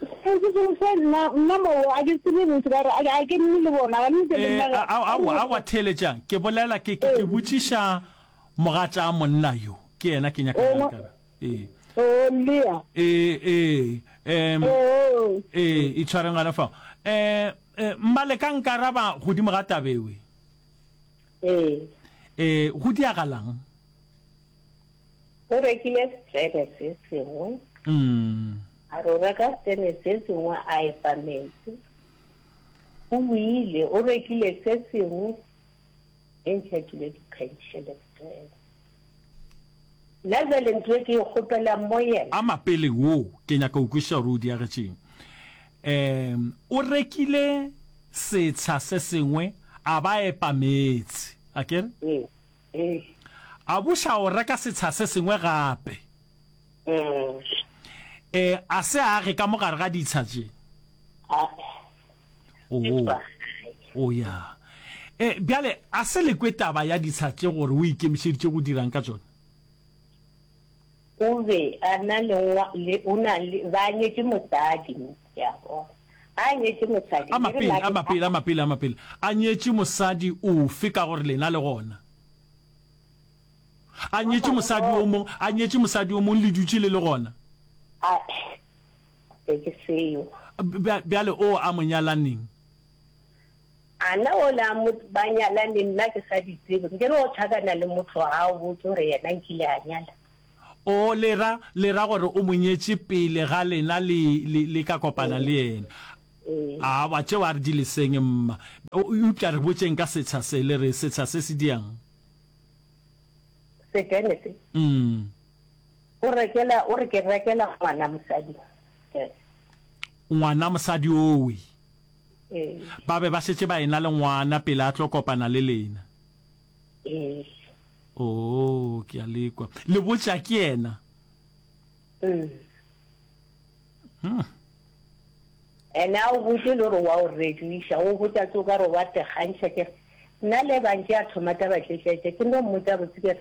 Se se sengwe se nna, nna mo, a ke tsebe botse ka gore a, a ke nne le bona, ga nne le Eh, nna a, a, a, a, wa theeletšang. Ke bolela, ke, ke, ke Ee. botšiša mogatša monna yo. Ke yena ke nyaka Oh, go mo- ka. Ee. Oh, Lea. Ee, ee, em, Oh. ee, itshwareng gona fao. Eh, eh, mma le ka nkaraba godimo ga tabewe. Ee. Eh, go diagalang? O rekile setene se sengwe. Mm. A re o reka setene se sengwe a epa metsi. O boile, o rekile se sengwe, e ntšha tšwile di-pension setene. Nna jwale ntho e ke e kgopelang mo yena. A mapele wo, ke nyaka go kwešiša gore o diagetšeng. Em, o rekile setsha se sengwe, a ba epa meetse. A ke re? Ee, ee. A buša o reka setsha se sengwe gape. Mm. Eh, a se age ka mogare ga ditsha tše. A. Oh. Oh, ya. Eh, bjale, a se le kwe taba ya ditsha tše gore o ikemišeditše go dirang ka tšona? O be a na le ngwa, le, o na le, ba nyetše mosadi, ya bona. A nyetše mosadi, A le re mapele, la a mapele, a mapele, a mapele. A nyetše mosadi ofe ka gore lena le gona? A nyetše mosadi o mong, a nyetše mosadi o mong le dutše le le gona? A, e ke seo. Bja-, bjale o a mo nyalaneng? A na o la mo ba nyalaneng, nna ke sa di tsebe. Nke re o tlhakana le motho ga o botse gore yena nkile a nyala. O le ra, le ra gore o mo nyetše pele ga lena le, le, le ka kopana le yena. Ee. A wa tšeo a re di leseng mma. O, eupša re botšeng ka setsha se, le re setsha se se diang? Setene se? Mm. O rekela, o re ke rekela ngwana mosadi. Ngwana mosadi owe. Ee. Ba be ba šetše ba ena le ngwana pele a tlo kopana le lena. Ee. Oo, ke a le kwa. Le botša ke yena. Mm. Hmm. Ene a o botše le gore wa o rekiša, o botša tse o ka re wa tekgantšha. Ke re, nna le bantše a thoma taba tše tše tše, ke no mmotša botse ke re,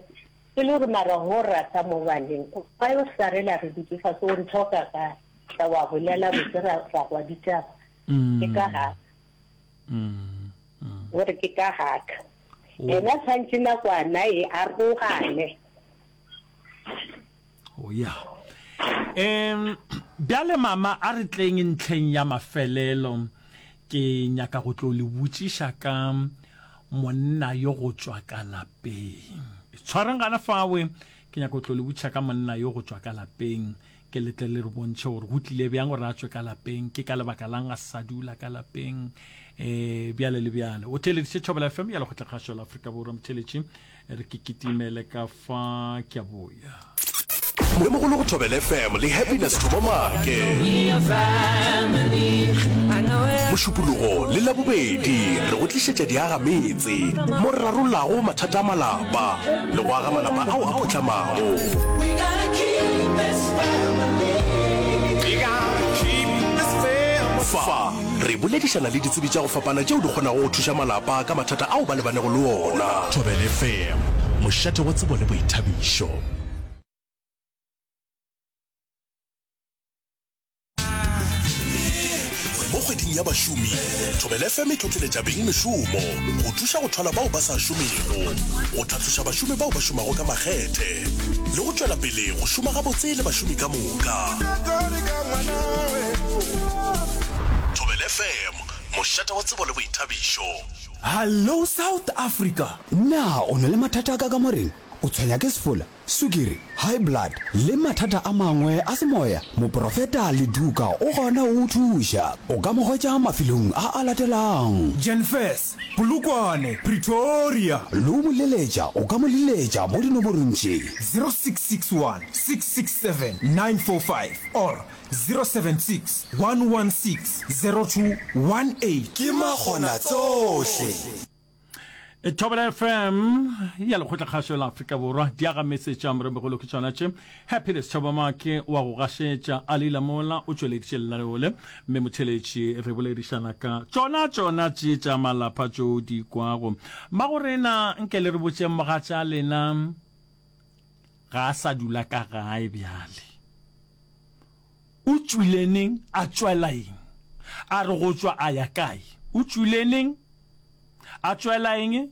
e le gore mara go rata mo baneng, why o sa rela re dutše fase o nthoka kae? Tla wa bolela botse ra, ra kwa ditaba. Ke ka ga. O re ke ka gaka. Yena tshwantše nakwana e arogane. Oh ya. Em bjale mama a re tleng ntlheng ya mafelelo ke nyaka go tlo le botšiša ka monna yo go tšwa ka lapeng. Tshwareng gana fawe ke nyaka go tlo le botšiša ka monna yo go tšwa ka lapeng. Ke le tle le re bontšhe gore go tlile bjang gore a tšwe ka lapeng, ke ka lebaka lang a sa dula ka lapeng, um bjale le bjale. O theeleditše Thobela F M ya Lekgotlakgašo la Afrika Borwa. Motheeletši, re ke kitimele ka fa, ke a boya. Moremogolo go Thobela F M le Happiness Thomo Maake. Mošupologo le Labobedi re go tlišetša diagametse mo re rarollago mathata a malapa le go aga malapa ao a potlamago. Fa re boledišana le ditsebi tša go fapana tšeo di kgonago go thuša malapa ka mathata ao ba lebanego le ona. Thobela F M, mošate wa tsebo le boithabišo. Mo kgweding ya bašomi, Thobela F M e hlohleletša bengmešomo go thuša go thwala bao ba sa šomego, go tlhatloša bašomi bao ba šomago ka makgethe le go tšwela pele go šoma gabotse le bašomi ka moka. Thobela F M, mošate wa tsebo le boithabišo. Hallo South Africa! Na o na le mathata a ka kamoreng? O tshwenya ke sefola, sukiri, high blood le mathata a mangwe a semoya? Moprofeta Leduka o gona go go thuša. O ka mo hwetša mafelong a a latelago. Jenfes, Polokwane, Pretoria. Le go mo leletša o ka mo leletša mo dinomorong tše. Zero six six one six six seven nine four five or zero seven six one one six zero two one eight. Ke makgonatsohle. Thobela F M ya Lekgotlakgašo la Afrika Borwa di aga metse tša moremogolo ke tšona tše. Happiness Thabamake wa go gašetša a Leila Mola o tšweleditše lenaneo le, mme motheeletši re boledišana ka tšona tšona tše tša malapa tšo di kwago. Mmagorena nke le re botšeng mogatša lena ga a sa dula ka gae bjale. O tšwile neng a tšwela eng? A re go tšwa a ya kae? O tšwile neng a tšwela eng?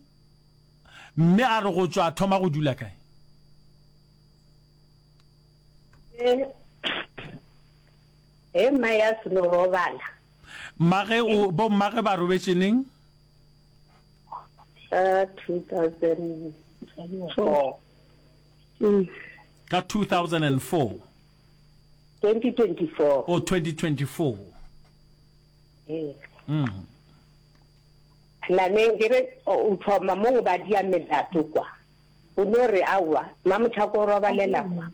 Mme a re go tšwa a thoma go dula kae? Ge mma ya seno robala. Mmage o, bo mmage ba robetše neng? Ka two thousand four. Ka two thousand and four. Twenty twenty-four. Oh, twenty twenty-four. Ee. Mm. Nameng ke re o thoma mo go ba dia melato kwa. O no re aowa, Mamotšhako o robalela kwa.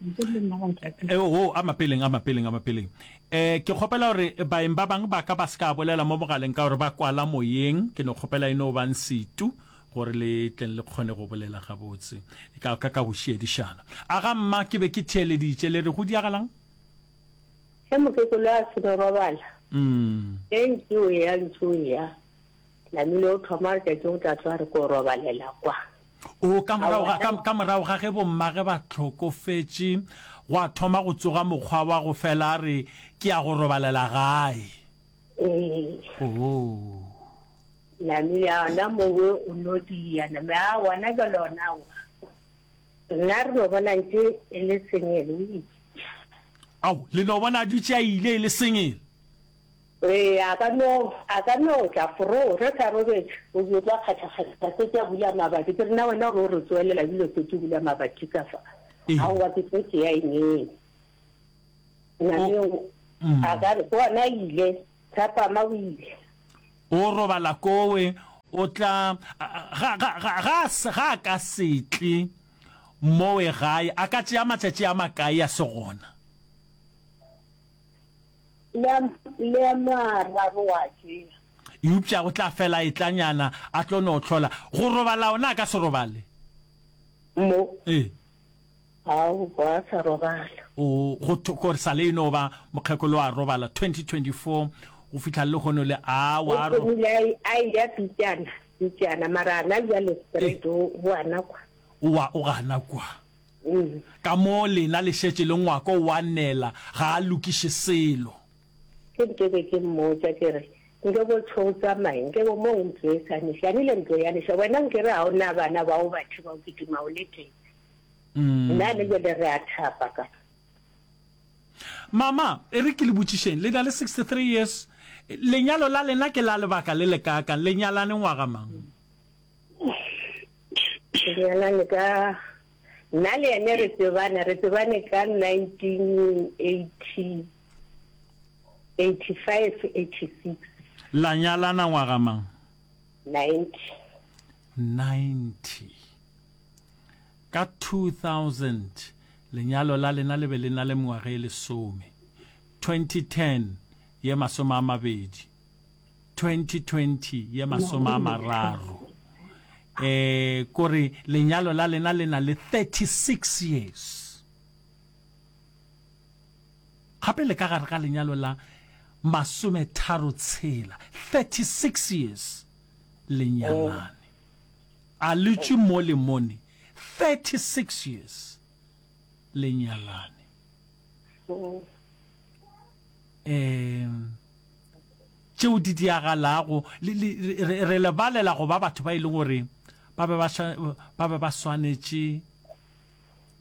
Eh, oh, a mapeleng, a mapeleng, a mapeleng. Eh, ke kgopela gore baeng ba bang ba ka ba se ka bolela mo mogaleng ka gore ba kwala moyeng. Ke no kgopela e no bang setu gore le tleng le kgone go bolela gabotse ka, ka, ka go šiedišana. A ga mma ke be ke theeleditše le re go diagalang? Ge mokekolo a se no robala, Mm. ge ntše o ya, ntše o ya, namile o thoma letšatši go tla tsoga re ko robalela kwa. O, ka morago ga, ka, ka morago ga ge bommage ba hlokofetše, gwa thoma go tsoga mokgwa wa go fela a re ke ya go robalela gae. Ee. Oh. Namile a ona mowe o no dia, name a ona jwale ona aowa. Nna re no bona ntše e le sengele, o itše. Ao, le no bona a dutše a ile e le sengele. Ee, a ka no, a ka no tla fro, re sa robetše, o be o tla kgatha-kgatha setse a bula mabati. Ke re, na wena gore o re tsoelela ebile o setse o bula mabati ka fa? Ee. Aowa, ke tlo tšea eng? Nameng, Mm. a ka re, ke ona a ile, thapama o ile. O robala kowe, o tla, ga, ga, ga, ga, ga a ka se tle mowe gae, a ka tšea matšatši a makae a se gona? Le a, le a mararo wa tšea. Eupša o tla fela e tlanyana, a tlo no hlola. Go robala ona a ka se robale. Mo. Ee. Ao, wa sa robala. O, go tho, gore sa le e no ba mokgekolo a robala twenty twenty four go fihla lehono le, a wa O ro. thomile a e, a eya pitšana, pitšana, mara ana bjale straight o, o gana kwa. O wa, o gana kwa. Mm. Ka mo lena le šetše le ngwako wa nela, ga a lokiše selo. Ke nke be ke mmotša ke re, Nke bo tšho o tsamaye, nke bo mo ntlo e sa neša, anile ntlo ya neša, wena nke re ga o na bana ba o batho ba o kitima o le tee. Nna le jale re a thapa ka. Mama, e re ke le botšišeng, le na le sixty three years, lenyalo la lena ke la lebaka le lekaakang? Le nyalane ngwaga mang? Re nyalane ka, nna le yene re tsebane, re tsebane ka nineteen eighty, eighty five, eighty six. La nyalana ngwaga mang? Ninety. Ninety. Ka two thousand, lenyalo la lena le be le na le mengwaga e lesome. Twenty ten, ye masome a mabedi. Twenty twenty, ye masome a mararo. Eh, kore lenyalo la lena le na le thirty six years. Gape le ka gare ga lenyalo la masometharo tshela, thirty six years, le nyalane. A le tšwe mo le mone, thirty six years, le nyalane. Um, tšeo di diagalago, le, le, re, re lebalela go ba batho ba e leng gore ba be ba, ba be ba swanetše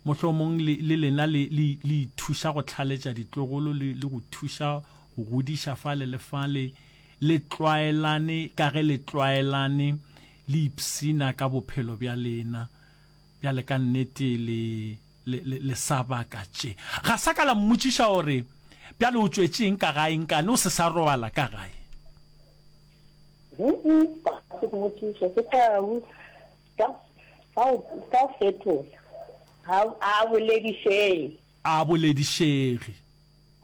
mohlomong le, le lena le, le, le ithuša go hlaletša ditlogolo le, le go thuša go godiša fale le fale, le tlwaelane ka ge le tlwaelane, le ipshina ka bophelo bja lena. Bjale ka nnete le, le, le, le sa baka tše. Ga sa ka la mmotšiša gore, Bjale o tšwetše eng ka gae nkane o se sa robala ka gae? Huh-uh, ga se mmotšiša, ke sa, ka, ka, ka fetola. Ga a boledišege. A boledišege.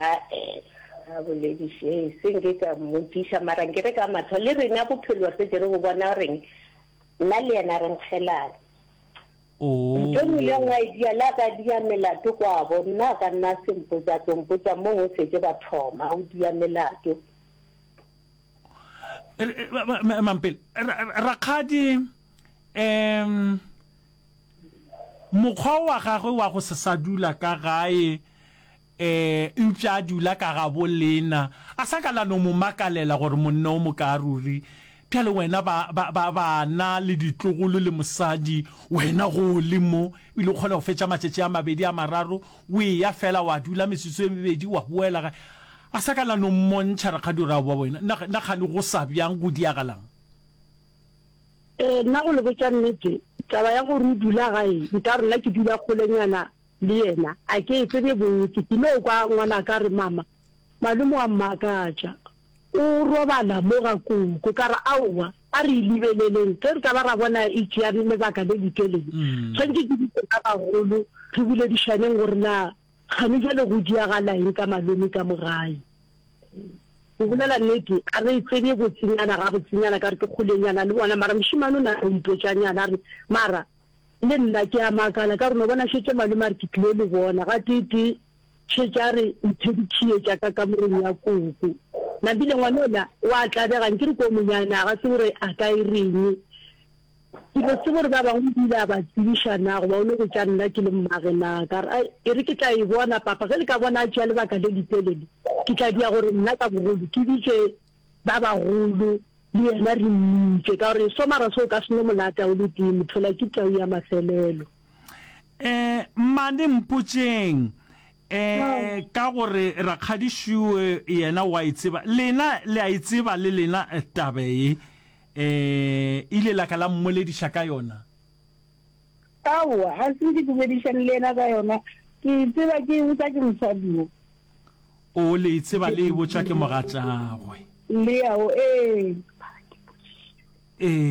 A-e, ga a boledišege. Se nke ka mmotšiša, mara nke re ka matho le rena bophelo re šetše re bo bona goreng nna le yena re nkgelane. Oo. Ntho nngwe le nngwe a e dia, le a ka dia melato kwabo, nna a ka nna a se mpotša, a tlo mpotša mo go šetše ba thoma go dia melato. Mampele, Rakgadi, um mokgwa wa gagwe wa go se sa dula ka gae, um eupša a dula ka gabo lena, a sa ka la no mo makalela gore monna o mokaa ruri. Bjale wena ba, ba, ba, bana le ditlogolo le mosadi, wena go le mo, ebile o kgona go fetša matšatši a mabedi a mararo o eya fela wa dula metsotso e mebedi wa boela gae. A sa ka la no mmontšha rakgadi gore aowa wena, na, na kgane go sa bjang, go diagalang? Ee, nna go le botša nnete, taba ya gore o dula gae, nka re nna ke dula kgolenyana le yena, a ke e tsebe botse. Ke no kwa ngwanaka a re, Mama, malome wa mmakatša, o robala mo ga koko. Ka re, Aowa, a re e lebeleleng, ge re ka ba ra bona e tšea lebaka le letelele, tshwanetše ke bitše ba bagolo re boledišaneng gore na kgane bjale go diagala eng ka malome ka mo gae. Go bolela nnete, ga re tsebe botsenyana gabotsenyana ka gore ke kgolenyana le bona, mara mošemane o na a mpotšanyana a re, Mara le nna ke a makala ka gore no bona šetše malome a re ke tlilo le bona gateetee, šetše a re mphe dikhie tša ka kamoreng ya koko. Napile ngwana yola o a tlabega, nkere ke o monyane a ga tsebe gore a ka e reng. Ke no tseba gore ba bangwe o ile a ba tsebiša na goba o no botša nna ke le mmage na. Ka re, Ai, e re ke tla e bona, papa. Ge le ka bona a tšea lebaka le letelele, ke tla dia gore nna ka bogolo ke bitše ba bagolo le yena re mmitše, ka gore so mara se o ka se no mo lata o le tee, mothola ke tau ya mafelelo. Eh, mmane mpotšeng, eh, ka gore Rakgadi Shuwe yena o a e tseba, lena le a e tseba le lena taba ye? E ile la ka la mmolediša ka yona? Aowa, ga se nke ke boledišane le yena ka yona. Ke e tseba ke e botša ke mosadi wo. O, le e tseba le e botšwa ke mogatšagwe? Leo, ee. Ee.